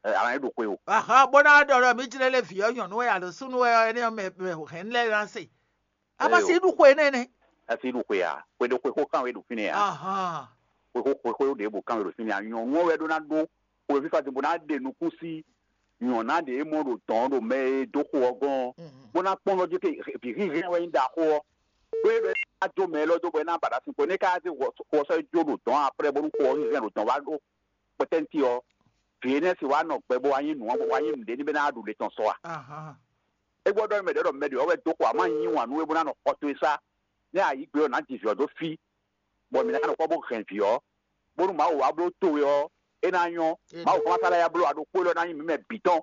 Ɛ, a nǎ yi ɖu xwe o. Ahan bó ná ɖɔ ɖɔ mí jlɛ́ lé vǐ ɔ́ nyɔ̌nu wɛ alo súnnu wɛ ɔ́ énɛ́ ɔ́ mɛ mɛ hɛn lɛ́ ná se. A ma Ɛ si o. Ɖu xwe énɛ́ nɛ́. Ɛ si ɖu xwe a? Xwe ɖo xwe xó kan wɛ ɖo fínɛ́ a? Ahan. Xwe xó xwe xó ɖěbǔ kan wɛ ɖo fínɛ́ a? Nyɔ̌nu ɔ́ wɛ ɖó ná ɖó xwe fífá din bó ná ɖe nukún sí nyɔ̌ná ɖě e mɔ ɖo dɔ̌n ɖo mɛ e dó xo ɔ́ gɔ́n ɔ́, Mhm. bó ná kpɔ́n ɖɔ jí ké vǐ hínhɛ́n wɛ nyí ɖaxó ɔ́. Ɖó é ɖɔ é ná jó mɛ élɔ́ dó bɔ é ná ba ɖa sin kpo énɛ́ ká zé xɔ sɔ́ jó ɖo dɔ̌n aprɛ́ bónú xo ɔ́ hínhɛ́n ɖo dɔ̌n wá ɖó kpɛtɛ́nti ɔ́, vǐ énɛ́ si wá nɔ gbɛ bó wá nyí nǔ ɔ́ bó wá nyí nǔɖé ní bɛ́ ná ɖu le tɔn sɔ a? Ahan. É gbɔ ɖɔ mɛ ɖě ɖɔ mɛ ɖě ɔ́ wɛ dó xo amá nyí wǎn nú é bó ná nɔ xɔ towe sá, nɛ́ a yǐ gbe ɔ́ nǎ ji vǐ ɔ́ dó fí, bɔ mǐ ná nɔ kpɔ́ bó hɛn vǐ ɔ́, bónú Mawu wá bló towe ɔ́, é ná nyɔ́. Mawu kplán sá lɛ́ yá bló aɖokpó élɔ́ ná nyí mǐ mɛ bǐ tɔn.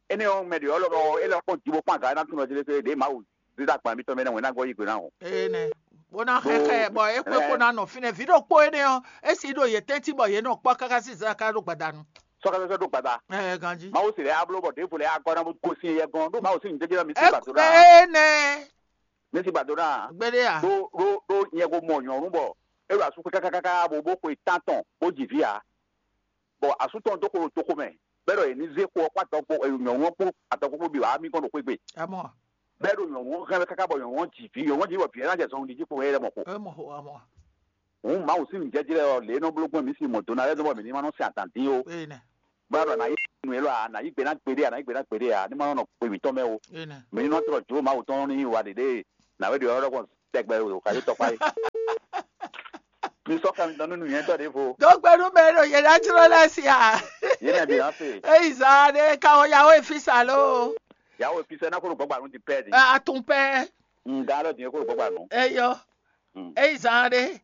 Énɛ́ ɔ́, mɛ ɖě ɔ́ lɔmɔ̌ é lɛ́ kpɔ́n ji bó kpán aga ɔ́ ná tunwun jí lé ké ɖě Mawu zídá gbǎn mitɔn mɛ nɛ́ wɛn ná gɔ́ yí gbe ná o. Énɛ́. Bó ná xɛxɛ bɔ é kpé kó ná nɔ fínɛ́. Vǐ ɖokpó énɛ́ ɔ́, é si ɖo yě tɛ́ntin bɔ yě nɔ kpɔ́ káká sín zǎn ká ɖo gbadanu. Sɔ́kɛ́sɔ́ ɖó gbada. Ɛ ganjí. Mawu sì lɛ́ á bló bɔ ɖěvo lɛ́ á gɔ́ ná bó gosín yɛ gɔ́n ɖó Mawu sín nyǐjɛ́jɛ́ ɔ́ mi sí gbàdó ná. Énɛ́. Mi sí gbàdó ná. Gbéɖé a? Ɖó ɖó ɖó nyɛ ko mɔ nyɔ̌nu bɔ é ɖo asú xwé kákákáká bó bó xwe tántɔn bó ji vǐ ǎ. Bɔ asú tɔn dó xo ɖo toxo mɛ, bɔ é ɖɔ yě ní zé xo ɔ́ kpó adɔkpó nyɔ̌nu ɔ́ kpó adɔkpó kpó bǐ wá mì gɔ́n ɖo xwé gbe. Amɔ. Bɔ é ɖo nyɔ̌nu ɔ́ hɛn wɛ káká bɔ nyɔ̌nu ɔ́ ji vǐ, nyɔ̌nu ɔ́ ji bɔ vǐ ɛ ná jɛ zɔnlin jí kpo hɛn lɛ́ mɔ̌ kpo. Hǔn Mawu sín nǔjɛjí lɛ́ɛ ɔ́, lě e nɔ bló gbɔn mǐ sin mɔ̌ dó ná lɛ́ɛ dó bɔ mǐ ní ma nɔ sin adǎn dín ó. Bɔ a ɖɔ a nǎ yí nǔ élɔ́ ǎ, a nǎ yí gbe ná gbeɖé, a nǎ yí gbe ná gbeɖé ǎ, ní ma nɔ nɔ gbe mǐtɔn mɛ ó. Mǐ ní nɔ tlɔ jǒ Mawu tɔn ní wa ɖěɖée nǎwe ɖě ɔ́ ɖɔkpɔn tɛgbɛ ɖo xaví tɔkpá é. Mi sɔ́ xá mitɔn nú nǔnywɛ́tɔ́ ɖěvo. Dó gbe nú mɛ e ɖo yě ná jlɔ́ lɛ́ɛ sí a? Yě mɛ bǐ ná se. Eyi zán ɖé ka wɔ yawo e fí sa ló? Yawo e fí sɛ́ ná kó ɖo gbɔ́gbà nú din pɛ́ din. Atún pɛ́. Ŋga lɔ din é kó ɖo gbɔ́gbà nú. Eyɔ. Eyi zán ɖé.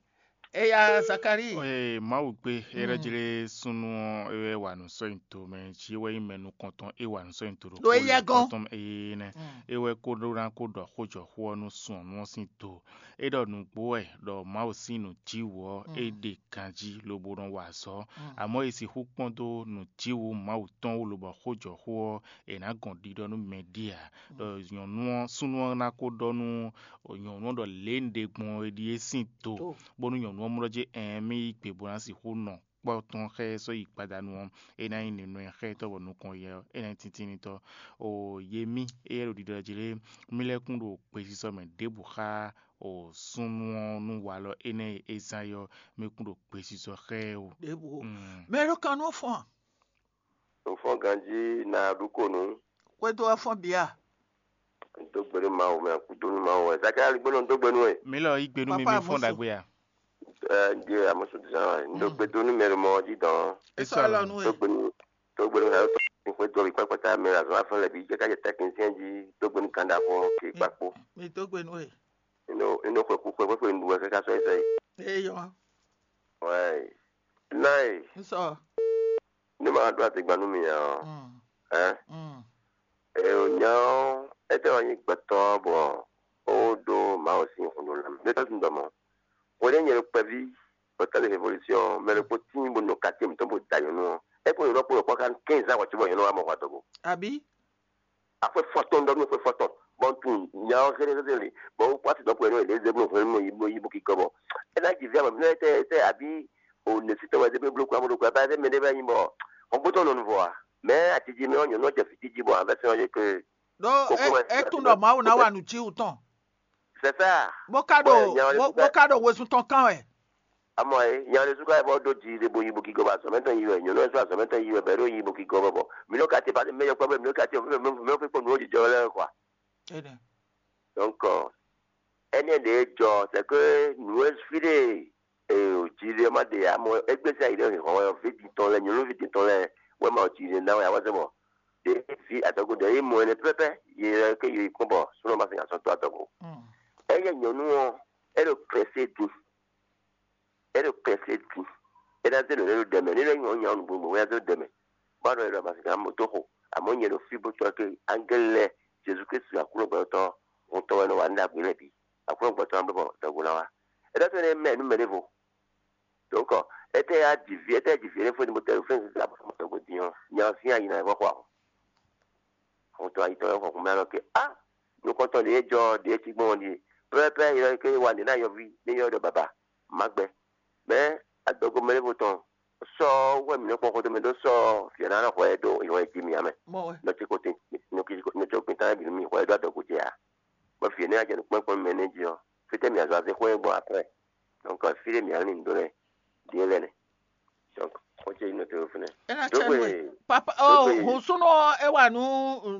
Eya Zakari. Ee, Mawu gbe, é ɖɔ jlé súnnu ɔ́, é wɛ wa nǔ sɔ́ nyi to mɛ, jí é wɛ nyí mɛ nukɔntɔn, é wa nǔ sɔ́ nyi to ɖo Ɖo éyɛ́ gɔ́n. Tɔn ée nɛ́. É wɛ kó ɖó ná kó ɖɔ xó jɔ xó ɔ́ nú sun ɔ́ nú ɔ́ sín do. É ɖɔ nǔgbó wɛ ɖɔ Mawu sín nǔjíwǔ ɔ́, é ɖe ganjí lobo nɔ wa azɔ̌. Amɔ̌ è sixú kpɔ́n dó nǔjíwǔ Mawu tɔn wú lobɔ xó jɔ xó ɔ́, è nǎ gɔn ɖiɖɔ nú mɛ ɖíe ǎ. Ɖɔ nyɔ̌nu ɔ́, súnnu ɔ́ ná kó ɖɔ nú nyɔ̌nu ɔ́ ɖɔ lě e un ɖe gbɔn é ɖíe sín do, bónú nyɔ̌nu ɔ́ mlɔ́ jí ɛɛn mì yí gbe bó ná sixú nɔ kpɔ́ tɔn xá ɛ sɔ́ yi gbadanu ɔ́, é ná nyí nǔnywɛ́ xá étɔ́ bɔ nukɔn yɛ ɔ́, é ná nyí tíntínnitɔ́. O ye mì, éyɛ́ ɖo ɖiɖɔ jí lé, mì lɛ́ kún ɖo gbesisɔ mɛ ɖěbǔ xá o súnnu ɔ́ nú walɔ énɛ́ e é zán é ɔ́, mì kún ɖo gbesisɔ xá ɛ o. Ɖěbǔ o. Mm. Mɛ ɖo kan nú fɔn. Nǔfɔ́n ganjí ná ɖu ko nǔ. Xwedó wɛ fɔ́n bǐ a? Dó gbe nú Mawu mɛ, kúdó nú Mawu wɛ. Zakalali gbé nɔ dó gbe nú we. Mi lɔ yí gbe nú mi, Papa mi fɔ́n Amosu. Ɖagbe a? Ɛ, Dieu Amosu Dizan wɛ. Ndo gbe dó nú mɛ ɖo mɔ ɔ́ jí dɔn. É sɔ́ alɔ nú we. Dó gbe nú, dó gbe nú Hayo tɔn. Xwedó mi kpákpátá mɛ azɔn afɔ lɛ bǐ jɛ ká jɛ tɛkinisɛn jí. Dó gbe nú Kanda fɔ ke kpakpo. Mi dó gbe nú we. Ino ino xwe kú xwe xwe xwe nɖu wɛ káká sɔ́ yi sɔ́ yi. Eyɔ. Wɛ. Náì. Nsɔ. Ní ma ɖó àtìgbà nú mi ǎ ɔ́. Mm. Ɛ. Mm. Ɛ o nya ɔ́, étɛ́ wɛ nyí gbɛtɔ́ bɔ ó ɖó Mawu sín xun ɖo lanmɛ. Ɖé tɔ́ tún ɖɔ mɔ̌. Hweɖé nyɛ ɖo kpɛví bɔ tɛ́ lé révolution mɛ ɖokpó tíin bó nɔ kacé mǐtɔn bó da nyɔ̌nu ɔ́. É kpó nyɔ̌nu ɔ́ kpó ɖo kpɔ́ ká quinze ans hwɛ̌ cóbɔ nyɔ̌nu ɔ́ wá mɔ hwɛ adɔgo. Àbí? Afwe fɔtɔn ɖɔ nú fwe fɔtɔn. Bɔn tun nyawo xéɖé sese li bɔn wokpɔ asi dɔn kpo yɛ nɔ yɛ ɖe zeblo hwenu mɔ yibo yibo kikɔ bɔ ena ji via mɛ fínɛ tɛ tɛ abi o ne si tɔn wɛ zeblo kura mo ɖo kura ba ɛsɛ mɛ ɖe bɛ nyi bɔ ɔgbó tɔn nɔ nuvɔ a mɛ atiji mɛ ɔnyɔ nɔ jɛ fiti ji bɔ avɛ sɛn ɔyɛ ke. Ɖó kókó wɛ é tún ɖɔ Mawu ná wa nǔ cí wú tɔn. C'est ça. Bó ka ɖo bó ka ɖo wezun tɔn kán wɛ. Amɔ e nya ɖé súká bɔ ɖó ji ɖe bo yi bo kígɔ bɔ azɔmɛtɔn yi wɛ nyɔnu ɛsɛ azɔmɛtɔn yi wɛ bɛ ɖó yi bo kígɔ bɔ bɔ mi nɔ kati ba mɛ yɔkpɔ bɛ mi nɔ kati mɛ fɛ kpɔ nǔ jijɔ lɛ kɔ. Donc ɛnɛ ɖe jɔ c'est que nǔ e fi ɖe ji ɖe ma ɖe amɔ egbe sɛ yi ɖe hɔn wɛ vi di tɔn lɛ nyɔnu vi di tɔn lɛ wɛ ma ji ɖe na wɛ awɔsɛ bɔ ɖe fi adɔgo ɖe yi mɔ ɛnɛ pɛpɛ yi lɛ ke yi kpɔn bɔ sunɔ ma fi asɔ to adɔgo. Ɛyɛ nyɔnu ɔ e ɖo pressé din. É ɖo kɛsɛ din. É ná zé nǔ ɖé ɖo ɖɛ mɛ. Ní lɛ́ nyí nya nǔgbó gbɔn wɛ zé ɖɛ mɛ. Bá ɖɔ é ɖɔ màsín ká mɔ tó xo. Àmọ́ nyɛ ɖo fí bó tɔ́ ké ángɛ́lì lɛ́ɛ Jezu Kristu Aklúnɔ gbɛtɔ́ ŋutɔ́ wɛ nɔ wa ní ɖagbe lɛ́ɛ bǐ. Aklúnɔ gbɛtɔ́ ná bó bɔ dɔgo ná wa. É ɖɔ tó nɛ́ mɛ nú mɛ ɖěvo. Dɔ̌nkɔ étɛ́ yá ji vǐ étɛ́ ji vǐ énɛ́ fó ní bó tɛ́ ɖo fɛ́n zizá bó mɔ dɔgo din ɔ́, nya ɔ́ sín ayi ná yi vɔ xo a? Xɔmɔtɔ́ ayitɔ́ wɛ xɔ hǔnmɛ nɔ ké á nukɔntɔn ɖě jɔ ɖě cí gbɔn ɖíe pɛ́pɛ́pɛ́ yɔ ké wa nǐ ná yɔví ní yɔ ɖɔ baba má gbɛ. Mɛ adɔgo mɛ ɖěvo tɔn sɔ wɛ mǐ nɔ kpɔn xɔtɔn mɛ ɖó sɔ fìyà ná nɔ xɔ ɛ ɖó ìwọ̀n jí mǐ amɛ. Nɔ tí kò tí nɔ tí kò tí tá bǐ nú mì xɔ ɛ ɖó adɔgo jɛ ǎ. Bɔ fìyà ní ajɛ nukpɔ́nkpɔ́n mɛ nɛ́ jí ɔ́, fítɛ́ mǐ azɔn azé xwé gbɔn aprɛ. Donc fí ɖé mǐ ǎ ní nǔ ɖó lɛ́ɛ ɖíe lɛ́ɛ nɛ. Donc xó ce nyí nɔ te ɖo fínɛ́. É ná cɛ nú we. Papa, oh, hun súnú ɔ́, é wa nǔ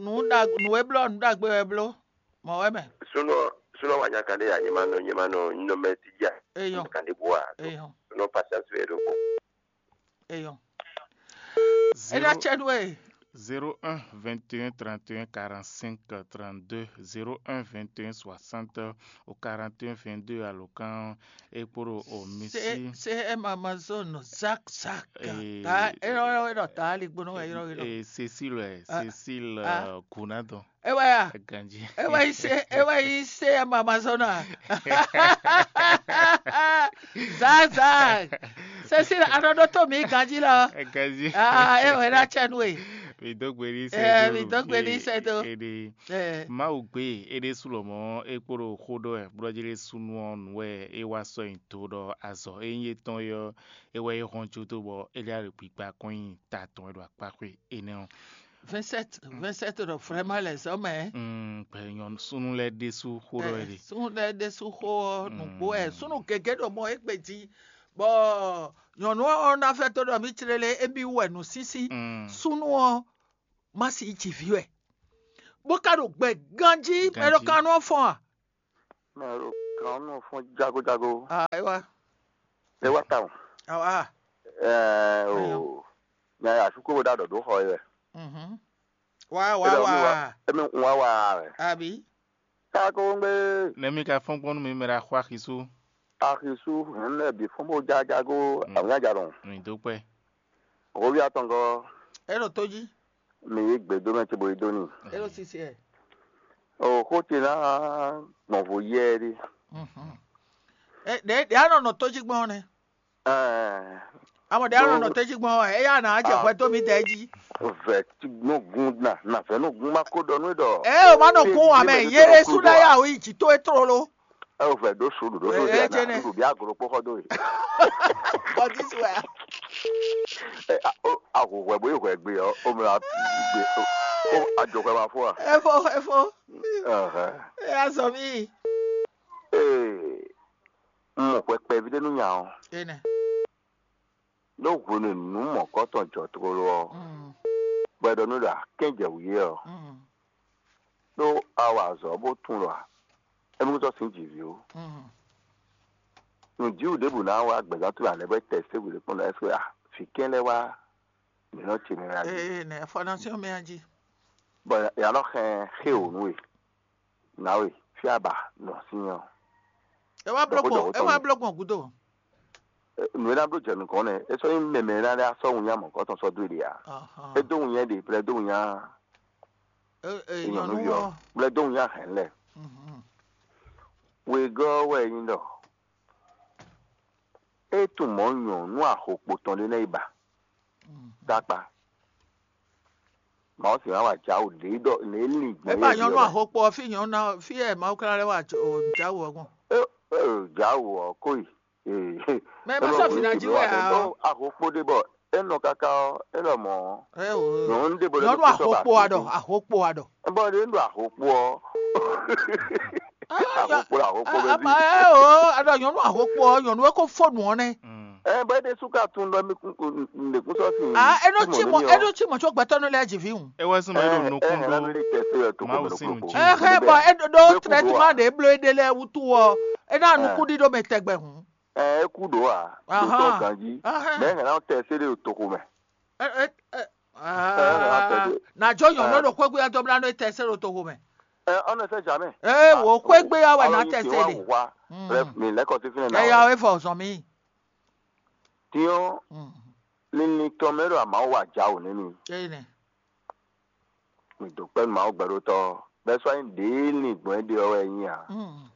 nǔ ɖa nǔ e bló nǔ ɖagbe wɛ bló. Mɔ̌ wɛ mɛ. Súnú ɔ́ súnú ɔ́ wa nya kan ɖé ya nyɛ ma nɔ nyɛ ma nɔ nyɛ nɔ mɛ ti dzi a. Eyɔn. Kan ɖé bó a. Eyɔn. Súnú ɔ́ patience wɛ ɖo kpɔ́n. Eyɔn. É ná cɛ nú we. Zéro un vingt et un trente et un quarante-cinq trente-deux, zéro un vingt et un soixante au quarante et un vingt-deux alokan e kpó ɖo o misi. Se se ema ma zɔ nɔ zak zak. Eh, ta ero ero ero ta ali gbɔnɔ ero ero. Eh, Cécile, eh, Ah, Cécile, ah. Euh, Kunadon. Ewa ya. Ganji. Ewa ise ewa ise ema ma zɔ nɔ. Zak zak. Cécile anɔ ɖo to mi ganji lɔ. Ganji. Ah, ewa na cɛ nu e. Mi dó gbe ní sɛ Eh, dó mi dó gbe ní sɛ dó. Ede. Eh. Mawu gbe ede sulɔmɔ ekpolo xoɖɔ ɛ blɔjele sunu ɔ nu ɛ e wa sɔ yin to ɖɔ azɔ e yin etɔn yɔ e wɛ e hɔn jo do bɔ e lɛ ale gbigba kɔn yin ta tɔn e ɖo akpa xwe ene ɔ. Vincent, Vincent ɖɔ vraiment les hommes, hein. Mm, gbɛ nyɔnu súnnu lɛ ɖésú xó ɖɔ wɛ ɖe. Súnnu lɛ ɖésú xó ɔ́ nǔgbó ɛ súnnu gěgé ɖo mɔ égbé jí, bɔ nyɔnu ɔ́ ná fɛ tó ɖɔ mí tlélé émí wú wɛ nǔsínsín. Mm. Súnnu ɔ́ má sí jǐví wɛ, bó ka ɖo gbɛ ganjí mɛ ɖo kan nú ɔ́ fɔ́n a? Mɛ ɖo kan nɔ fɔn jagojago. Ah, é wá. É wá tawun. Ah, Ɛɛ o. Nya ya suku bo da dɔ do xɔ yɛ. Mhm. Wá wá wá. Emi ń wá wá rɛ. Àbí? Kákó ń gbé Nɛmí ka fɔ́n gbɔn nú mi mɛ ɖo axɔ axisú. Axisu hɛn lɛ bi fɔn bo jajago awunya ja dɔn. Mi dó kpɛ. Ovi atɔngɔ É ɖo tó jí. Mi yi gbe dó mɛ ce bo yi dó ni. É ɖo sisi ɛ. O xó ce ná gbɔn vo yɛ ɖi. Mhm. Ɛ ɖe ɖe anɔ nɔ tó jí gbɔn nɛ. Ɛɛ Amɔ ɖe anɔ nɔ tó jí gbɔn ɛ eya na jɛ hwɛ tó mi dɛ jí. Vɛ nɔ gun na na vɛ nɔ gun ma ko dɔ nú dɔ. Ɛ o ma nɔ kún wa mɛ yere su ɖe ya o yi jì tó e tlolo. Ɛ o vɛ ɖó su ɖo ɖó Ɛ, so ɛ, ɖe jɛnɛ. na ɖo bí aglo kpó xɔ dó yi. Bɔdisi wɛ. Ɛ a- o aho hwɛ bo yi hwɛ gbe ɔ o mla gbe o o adzɔ hwɛ ma fó a. Efo efo. Ɛhɛn. Eya zɔ mi. Ee n mɔ hwɛ kpɛví ɖé nú nya ɔ. Ene. Ɖó hwenu nǔ mɔ̌kɔtɔn jɔ tlolo ɔ, Mm. bɔ ɛ ɖɔ nú ɖɔ akɛ́njɛ wǔ yé ɔ, Mm. ɖó a wa azɔ̌ bó tunwun ɖɔ émí sɔ́ sín jǐví ó. Mm. Nǔjíwǔ ɖěbǔ ná wá gbɛ̌zán towe alɛ bɔ é tɛ sɛ́ hwǐɖé kpɔ́n ɖɔ ɛ́ a vǐ kɛ́n lɛ́ wá mǐ nɔ ce mɛ wá jí. Ee ne information mi a jí. Bɔ ya nɔ xɛn xé wǒ nú we. Nǎwe fí a ba nɔ sín ɔ. E wa bló Dɔxó, gbɔn dɔxó e tɔn wa mi. Bló gbɔn gúdo. Nǔ e ná bló jɛ nukɔn nɛ é sɔ́ nyí mɛmɛ ná ɖé asɔ́ wun nyá mɔ̌kɔtɔn sɔ́ dó ɖe ǎ. Ahan. É dó wun nyá ɖe plɛ dó wun nyá E e nyɔ̌nu nyɔnu yɔ wɔ. Plɛ dó wun nyá hɛn lɛ. Mhm. Wegɔ́ wɛ nyí ɖɔ é tunwun mɔ̌ nyɔ̌nu axokpo tɔn ɖé nɛ́ yi ba Mhm. dákpa. Mawusi hã wà jáwò lě ɖɔ lě lin gbɔn E ba nyɔnu ahokpo fi nyɔnu na fi ɛ Mawu kla lɛ wa jáwò ɔgbɔn. Jáwò ɔ kó yi. Mɛ ma sɔ fi na jí wɛ a ɔ. Ahokpo ɖé bɔ é nɔ káká ɔ é lɔ mɔ Ɛ o. Nyɔ̌nu ɖé bɔ Nyɔnu ahokpo a ɖɔ ahokpo a ɖɔ. Bɔ ɖé ɖo ahokpo ɔ. Ahokpo ahokpo bɛ Ama ɛ o a ɖɔ nyɔnu ahokpo ɔ nyɔnu e ko fo nu ɔ nɛ. Ɛ bɔ é ɖe súká tún ɖɔ mi kún mi kún sɔ sí. A e ɖo tsi mɔ e ɖo tsi mɔ tso gbɛtɔ nu lɛ dzi vi ŋu. Ewɛ sún mɛ ɖo nukún ɖó Mawu Mawu sin sin nutsi. nutsi. Ɛ hɛ bɔ e ɖo ɖo traitement ɖe blo ɖe lɛ wutu ɔ e na nukú ɖi ɖo mɛ tɛgbɛ hun. Ɛ é kú ɖó a. Ahán. Ɖo tɔ ganji. Ahán. Mɛ hɛn na tɛ se ɖe toxo mɛ. Ɛ ɛ ɛ aa na jɔ nyɔnu ɖo kpɛgbɛ ya dɔmla nɔ tɛ se ɖo toxo mɛ. Ɛ ɔnɔ sɛ jamɛ. Ee wo kpɛgbɛ ya wɛ na tɛ se ɖe. Wa. Bref mi lɛkɔ ti fi nɛ na. Ɛ ya wo efɔ zɔn mi. Tiɲɔ Mm. Linlin tɔn mɛ ɖo amawo wa ja wò nɛ mi. Ee nɛ. Mi do kpɛ́ Mawu gbɛɖotɔ bɛ́ sɔ́ nyí ɖěe lin gbɔn é ɖe ɔ́ wɛ é nyí ǎ. Mm.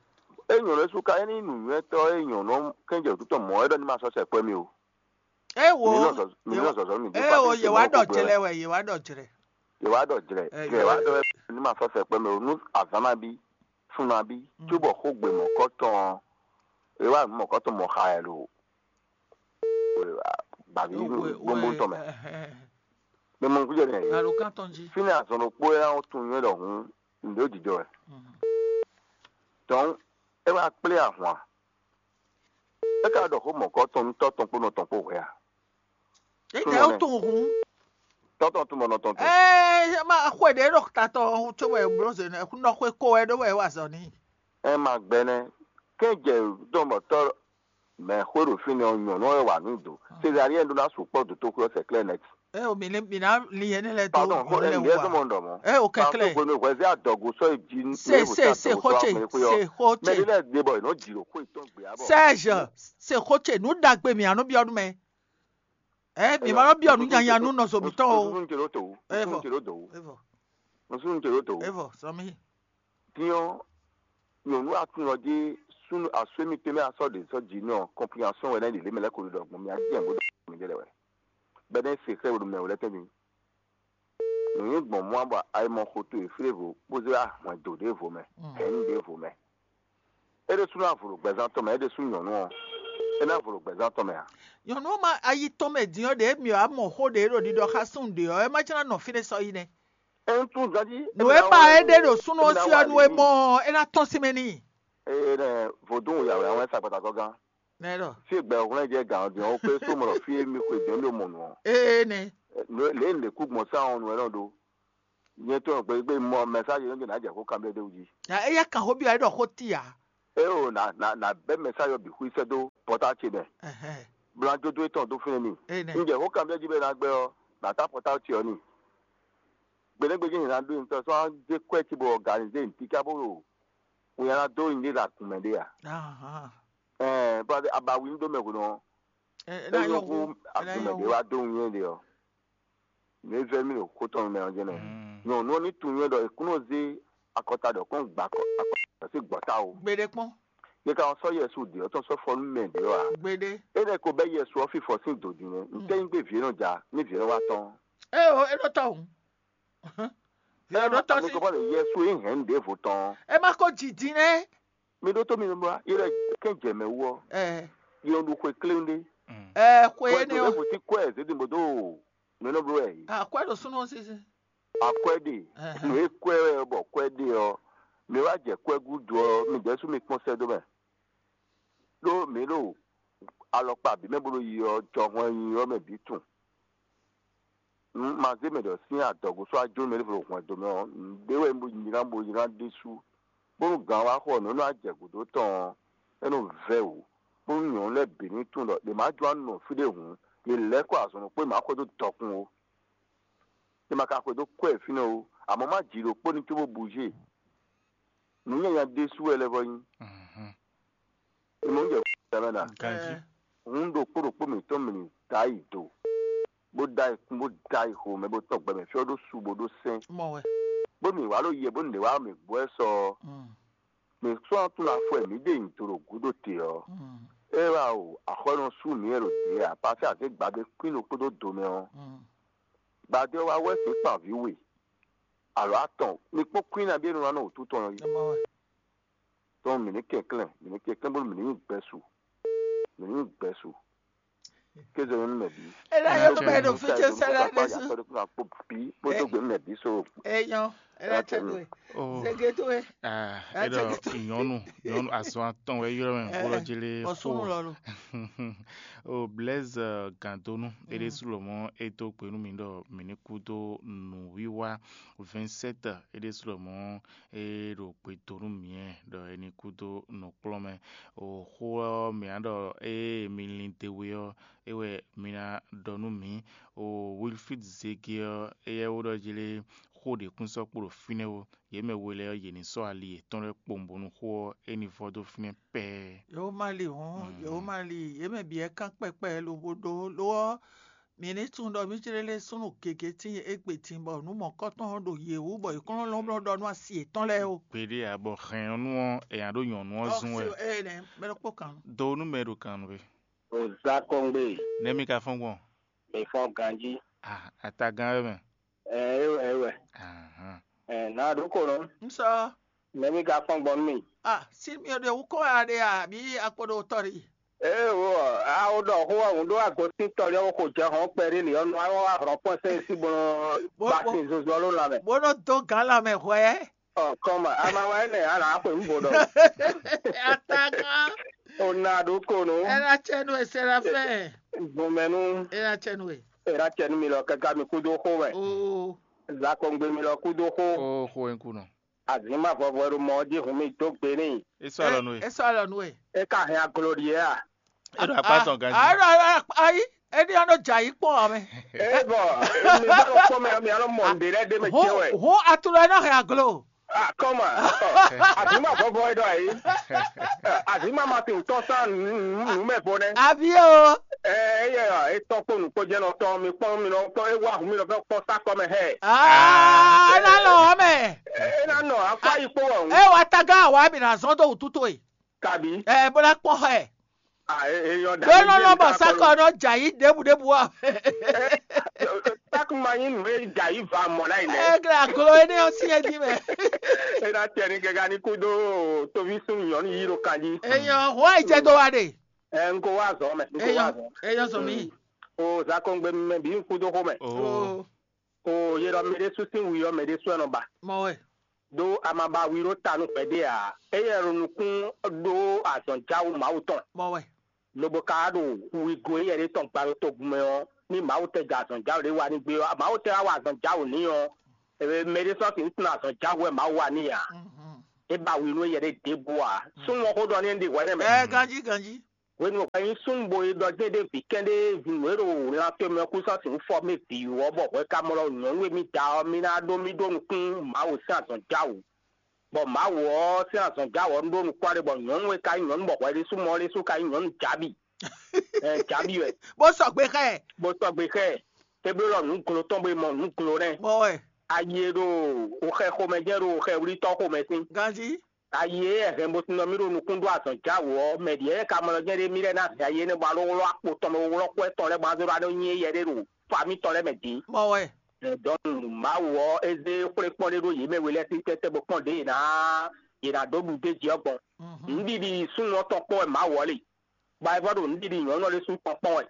É nyɔ̌nu é sú ká é ní nǔnywɛ́tɔ́ é nyɔ̌nu kɛ́njɛ wǔtu tɔn mɔ̌ é ɖɔ ní ma sɔ́ sɛkpɔ́ mi o. Ee Mi ní wo nɔ zɔzɔ- mi ní nɔ zɔzɔ mi dó ee fá wo kɛ́njɛ yewa mɔ̌ ɖɔ gbogbo jɛlɛ lɛ. Wɛ yewa ɖɔ jɛlɛ. Yewa ɖɔ jlɛ Ɛ, jlɛ wa ɖɔ ní ma sɔ́ sɛkpɔ́ mi o nú azǎn ma bí fún ma bí Mm. cóbɔ xó gbe mɔ̌kɔtɔn é wá mɔ̌kɔtɔn mɔ xa ɛ lo gbàgbé Wɛ- gbóngbó tɔn mɛ. wɛ- ɛhɛ. Mi mɔ nukúnjɛ nìyẹn. Alo kan tɔn jí. Fínɛ́ azɔn ɖokpó é ná tún nywɛ́ ɖɔhun ǹdó jijɔ wɛ. Mm. Dɔn é wá kplé ahwan. É ka ɖɔ xó mɔ̌kɔtɔn nú tɔ́ tɔn kpó nɔ tɔn kpó hwɛ a? Ete o tun hun. Tɔ́ tɔn tún mɔ nɔ tɔn tún. Ɛɛ ma xwe ɖe ɖo tatɔ tso wɛ blo ze nɛ nɔ xwe ko wɛ ɖo wɛ wa zɔ ni. Ɛ ma gbɛ nɛ. Kɛ́njɛ dɔn bɔ tɔ́ mɛ xwé ɖo fínɛ́ ɔ́ nyɔ̌nu ɔ́ wà nú do. Césarie ɖó ná sukpɔ́ dǒtóxwé ɔ́ sɛklɛ́ nɛ́. Ɛ o mi lé mi ná li yɛn lɛ do Pardon, xó ɔn lɛ ɛn yɛ wa. dɔmɔ ɖɔ mɔ. Ɛ o kɛklɛ. Xwé hwɛzɛ adɔgo sɔ yi dzi. Se se se xotse se Mɛ xotse. ɖé lɛ de bɔ ìnɔ dzi ɖo xó ìtɔn gbé abɔ. Serge se xotse nu dagbe mi anu biɔ nu mɛ. Ɛ mi ma lɔ biɔ nu nyanya nu nɔzɔ mi tɔn o. Nusunu tse ɖo to. Ɛ, Nusunu vɔ. tse ɖo to. Evɔ Nusunu tse ɖo to. Evɔ sɔmi. Tiɲɔ nyɔnu atunɔ dzi sunu asue mi tɛmɛ asɔ de sɔ dzi nɔ compréhension wɛ ne ɖi le mɛ lɛ ko ɖɔ gbɔn mi adi yɛn bo dɔ mi de lɛ wɛ bɛ ne se xɛ wo mɛ wo lɛ tɛn mi nu yi gbɔn mɔ bɔ ayi mɔ xoto yi flevo kpozɛ ahɔn do de vo mɛ hɛn de vo mɛ e de sunu avolo gbɛzan tɔn mɛ e de sunu nyɔnu ɔ e na avolo gbɛzan tɔn mɛ a Nyɔnu ma ayi tɔn mɛ din ɔ ɖe mi wa mɔ xo ɖe ɖo ɖiɖɔ xa sun ɖe ɔ ɛ ma jana nɔ fi ɖe sɔ yi nɛ. Enu tún ganjí. Nǔ e ba é ɖe ɖo súnnu ɔ́ sí ɔ́, nú é mɔ ɔ́, é ná tɔ́n sín mɛ n'i. Ee nɛ, vodún wò yàwó yàwó ɛ sa kpata kɔ gán. Nɛ ɖɔ. Fí gbɛ hwlɛ́n jɛ gǎn ɔ́ din ɔ́, wó kpé só mɔ ɖɔ fí e mi xwe dɔ̌n mi mɔ nǔ ɔ́. Ee nɛ. Lě e lě kú gbɔn sá ɔ́ nǔ wɛ nɔ ɖó. Nyɛ tɔn gbɛgbɛ mɔ mɛsáji nɔ jɛ nǎ jɛ xó kanbyɔ́ ɖé wú jí. Éyɛ́ kan xó byɔ́ é ɖɔ xó ti ǎ. É o nà nà nà bɛ́ mɛsáji ɔ́ bǐ xwí sɛ́ dó pɔ́tá ce mɛ. Blá jódó étɔn dó fínɛ́ n'i. Ee nɛ. Un jɛ xó kanbyɔ́ jí bɔ é ná gbɛ́ ɔ́, nǎ tá pɔ́tá ce ɔ́ n'i. Gbeɖégbéjé nyě ná ɖó nyitɔ́ sɔ́ ná zé kwɛ́ ce bɔ organizé nyǐtíká bó ɖo winnyá ná dó nyí ɖé ɖo agun mɛ ɖé ǎ. Ɛɛ bɔ abawi ní dó mɛ hwenu ɔ́, é nyɔ́ hú agun mɛ ɖé wá dó winnyá ɖé ɔ́. Nǔ e vɛ́ mì ɖo xó tɔn mɛ ɔ́ jɛ́nɛ. Nyɔ̌nu ɔ́ ní tunwun nyɛ ɖɔ è kún nɔ zé akɔta ɖɔ kɔn gba akɔta sí gbɔ̌ta o. Gbeɖé kpɔ́n. Yě ka sɔ́ Yɛsu ɖě ɔ́ tɔn sɔ́ fɔ nú mɛ ɖě ɔ́ ǎ. Gbeɖé. Énɛ́ ko bɛ́ Yɛsu ɔ́ fífɔ sín dǒ din nɛ́. Ntɛ́ nyí gbé vǐ e nɔ ja ní vǐ e nɔ wá tɔn? Éeǒ, é nɔ tɔ́ hǔn. Vǐ ɔ́ nɔ tɔ́ sí. Kɔ́ ɖe Yɛsu e hɛn nǔ ɖěvo tɔn. É má ko ji din nɛ́. Mi ɖótó mi nɔ blá, yé lɛ kɛn jɛ mɛ wú ɔ́, Ɛ yé nɔ ɖu xwe kléwún ɖé. Ɛ xwe Xwe énɛ́ ɔ́. Ɖěvo sí kwɛ zědin bó dó nǔ e nɔ bló wɛ yìí. Akwɛ́ ɖo súnnu ɔ́ sísí. Akwɛ́ ɖe, Ɛhɛn. Nǔ e kwɛ wɛ bɔ kwɛ́ ɖe ɔ́, mi wá jɛ kwɛ́ gúdo ɔ́, mi ɖɛ̌ sú mi kpɔ́n sɛ́ dó mɛ. Ɖó mǐ ɖo alɔkpa bǐ mɛ bó ɖo yi ɔ́, jɔhɔn e nyi ɔ́ mɛ bǐ tunwun. Un ma zé mɛ ɖɔ sín adɔgo sɔ́ ajó mɛ ɖěvo ɖo hwɛndo mɛ ɔ́, nǔɖé wɛ un bo nylá bo nylá ɖésú, bónú gǎn wá xɔ nǔ e nɔ wá jɛ gǔdo tɔn ɔ́, é nɔ vɛ́ wǔ, bónú nyɔ̌nu lɛ́ɛ bǐ ní tunwun ɖɔ ɖě má jló ná nɔ fí ɖé hǔn, yě lɛ́ kɔ azɔn ɖokpó e má xwedó dɔkun ó. È ma ka xwedó kwɛ́ fínɛ́ ó, amɔ̌ má jǐ ɖokpó ní cóbó buzé. Nǔ nyanya ɖésú wɛ lɛ́ vɔ nyí. È mɔ jɛ xwé mɛ ɖa. Ganjí. Hǔn ɖokpó ɖokpó mǐtɔn mǐ ní da yi do, bó da yi kún, bó da yi xo mɛ, bó tɔn gbɛ mɛ fí ɔ́ ɖó su, bó ɖó sɛ́n. Mɔ wɛ. Bó mǐ wá ɖo yɛ, bó nǔɖé wá mǐ gbɔ ɛ sɔ ɔ́, Mm. Mǐ sɔ́ ɔ́ tunwun afɔ e mǐ ɖe nyi do ɖo gǔdo te ɔ́, Mm. é wá o axɔ́nɔ sú mǐ wɛ ɖo dě ǎ, pasí azě gbadé kwín ɖokpó dó do mɛ ɔ́, Mm. Gbadé ɔ́ wá wɛ sín kpan vǐ we, alɔ̌ atɔn, mi kpɔ́n kwín nabí e nɔ wá nɔ wǔtu tɔn ɔ́ yí. Ɛ mɔ wɛ. Tɔn mǐ ní kɛnklɛ́n, mǐ ní kɛnklɛ́n bónú mǐ ní nyí gbɛsu, mǐ ní nyí gbɛsu. Kéze nú mɛ bǐ. Ela yɔ gbɛ ɖo fíjɛ sɛlɛ ɖe su. Akpɔ bí bó dó gbe nú mɛ bǐ so. Eyɔn, ela tɛ do e. Oh. Zege do e. Ah, Ela eɖɔ tɛ do. Nyɔnu, nyɔnu azɔn atɔn wɛ ylɔ mɛ bó lɔ jele. Bɔsunu lɔ lo. O Blaise Gandonu, eɖe su lɔ mɔ e dó gbe nú mi ɖɔ mi ní kú dó nǔwiwa. Vincent, eɖe su lɔ mɔ e ɖo gbe dó nú mi ɖɔ e ní kú dó nǔkplɔ́n mɛ. O xó ɔ́ mǐ á ɖɔ ée mi lin d'é wé ɔ́, é wɛ mi ná ɖɔ nú mǐ. O Wilfrid Zege ɔ́, éyɛ́ wó ɖɔ jlé xó ɖě kún sɔ́ kpo ɖo fínɛ́ ó. Yě mɛ we lɛ́ɛ ɔ́, yě ní sɔ́ ali yětɔn lɛ́ɛ kpowun bónú xó ɔ́ é ní vɔ dó fínɛ́ pɛ́ɛ́. Yǒ má li hɔn, yǒ má li, yě mɛ bǐ wɛ kán kpɛkpɛ lobo ɖó lo ɔ́, mǐ ní tunwun ɖɔ mí jlé lɛ́ súnnu gěgé tíin égbé din bɔ nǔ mɔ̌kɔ́tɔn ɔ́ ɖo yě wú bɔ yě kún nɔ lɔ́nlɔ́n ɖɔ nú asi yětɔn lɛ́ɛ ó. Gbeɖé ǎ, bɔ hɛn ɔ́ nú ɔ́, è nǎ ɖó nyɔ̌nu ɔ́ zun wɛ. Ɔ́, ɛ nɛ, mɛ ɖokpó kan. Do nú mɛ e ɖo kan nú we. O zá kɔngbé. Nɛ̌ mi ka fɔ́n gbɔn? Mi fɔ́n ganjí. Ah, atagán wɛ mɛ. Ɛ é wɛ é wɛ. Ahán. Ɛ nǎ ɖó ko nɔ. N sɔ. Nɛ̌ mi ka fɔ́n gbɔn nú mi? Ah, sí mi ò ɖe wú kó ya ɖe a bí akpo ɖo tɔ ɖi. Ee wo, a wo ɖɔ xó ɔ́ hǔn ɖó agosín tɔlí ɔ́ xo jɛ hɔn kpɛɖé lě ɔ́ nú a wá hlɔ̌n kpɔ́n sɛ́n sí bó nɔ Bó- ba bó- sin zozo ɔ́ ló lanmɛ. Bó nɔ dó gǎn lanmɛ hwɛ. Ɔ kɔn ma, a ma wá énɛ́ ǎ nǎ xwe nǔ vo ɖɔ. Atagán. O na ɖó ko nú Ela cɛ nú e Serafin. Gbɔn mɛ nú Ela cɛ nú e. Era cɛ nú mi lɔ kɛká mi kúdó xó mɛ. Oo. Zakɔngbe mi lɔ kúdó xó. Ó xó e kú nɔ. Azǐn ma vɔvɔ e ɖo mɔ ɔ́ jí hun mi dó gbe n'i. É sɔ́ alɔ nú we. É sɔ́ alɔ nú we. É ka hɛn aglo ɖíe a? É ɖo akpá tɔn ganjí. Ayi, éɖí ɔ́ nɔ jɛ ayǐ kpɔ́n ɔ́ mɛ. É bɔ mi bá lɔ kpɔ́n mɛ mi alɔ mɔ nǔɖé lɛ́ɛ ɖé mɛ Hɔn jɛ wɛ. Hɔn atulɔ ɛ nɔ hɛn aglo. Ah, kɔma. Azǐn ma vɔvɔ e ɖɔ ayǐ. Azǐn ma ma ti tɔn sán nǔ mɛ vo nɛ. Avi o. Ɛ eyɛ etɔn kpó nukpó jɛ nɔ tɔn mi kpɔn mi nɔ tɔn e wá hun mi nɔ fɛ kpɔn sá kɔ mɛ hɛ. Aa, ena lɔ ɔ́ mɛ. E na nɔ akpa yi kpó wɔ. E wa taga wa mi na zɔn do wutu to e. Kabi. Ɛ bó ná kpɔn xɛ. Ah, e e yɔ da. Bó nɔ nɔ bɔ sakɔ nɔ dza yi ɖěbǔ ɖěbǔ ɔ. Takuma nyi nǔ e dza yi va mɔ na yi nɛ. Ɛ gla aglo énɛ́ ɔ́ syɛ́n jí mɛ. E na tɛ ni gɛga ni kúdó toví sún nyɔ̌nu yí ɖo kan jí. Eyɔn hɔn ayi jɛ dó wa ɖe. Ɛ n ko wá zɔ mɛ, n ko wá Eyɔn zɔ. Eyɔn zɔ mi. O zakɔngbe mɛ bí n kúdó xó mɛ. Oh. O ye ɖɔ mɛ ɖésú sín wi ɔ́, mɛ ɖésú wɛ nɔ ba. Mɔ wɛ. Ɖó a ma ba wi ɖó ta nú hwɛɖé ǎ. Éyɛ́ ɖo nukún ɖó azɔ̌njáwu Mawu tɔn. Mɔ wɛ. Lobo ka wá ɖo wigo éyɛ́ ɖé tɔn gba ɖo togun mɛ ɔ́, ní Mawu tɛ jɛ azɔ̌njáwu ɖé wa ní gbé ɔ́, Mawu tɛ wá wa azɔ̌njáwu n'i ɔ́, mɛ ɖé sɔ́ sixú tunwun azɔ̌njáwu wɛ Mawu wa n'i ǎ. É ba wi nú éyɛ́ ɖé ɖěbǔ ǎ. Súnnu ɔ́ xó ɖɔ n'i ɖi hwɛ̌ nɛ́ mɛ. Ɛ ganjí ganjí. Hwenu e hwɛ nyí súnnu bo yi ɖɔ jɛ́n ɖé vǐ kɛ́ɖɛ́ vǐnǔ e ɖo lan tomɛ ɔ́ kú sɔ́ sixú fɔ mì vǐ wú ɔ́, bɔ hwɛ ka mɔ ɖɔ nyɔ̌nu e mì da ɔ́, mì ná ɖó mì ɖó nukún Mawu sín azɔ̌njáwu. Bɔ Mawu ɔ́ sín azɔ̌njáwu ɔ́ ɖó nukún aɖé, bɔ nyɔ̌nu e ka nyí nyɔ̌nu bɔ hwɛ ɖésú mɔ ɔ́ ɖésú ka nyí nyɔ̌nu Jabi. Ɛ Jabi wɛ. Bó sɔgbe xá ɛ. Bó sɔgbe xá ɛ. É bló ɖɔ nǔ glo tɔn bo yi mɔ nǔ glo nɛ́. Mɔ wɛ. Ayi e ɖo xɛ xomɛ jɛ́n ɖo xɛ wlítɔ́ xomɛ sín. Ganjí. Ayi e hɛn bo sin nɔ mì ɖo nukún ɖó azɔ̌njáwu ɔ́, mɛ ɖyɛ̌ ka mɔ jɛ́n ɖé mì lɛ́ɛ ná hɛn ayi énɛ́ bɔ a ɖó wlɔ́ akpo tɔn bó wlɔ́ kwɛ́ tɔn lɛ́ɛ bɔ a zé ɖó ná ɖó nyi éyɛ́ ɖé ɖo fa mitɔn lɛ́ɛ mɛ din. Mɔ wɛ. Dɔn Mawu ɔ́, é zé xwlé kpɔ́n ɖé ɖó yě mɛ we lɛ́ɛ sín tɛ́tɛ́ bó kpɔ́n ɖě yě ná yě ná dó ɖu d'é jí ɔ́ gbɔn. Nǔɖiɖi súnnu ɔ́ tɔn kpɔ́n wɛ Mawu ɔ́ le, bɔ a yi vɔ ɖo nǔɖiɖi nyɔ̌nu ɔ́ ɖésú tɔn kpɔ́n wɛ.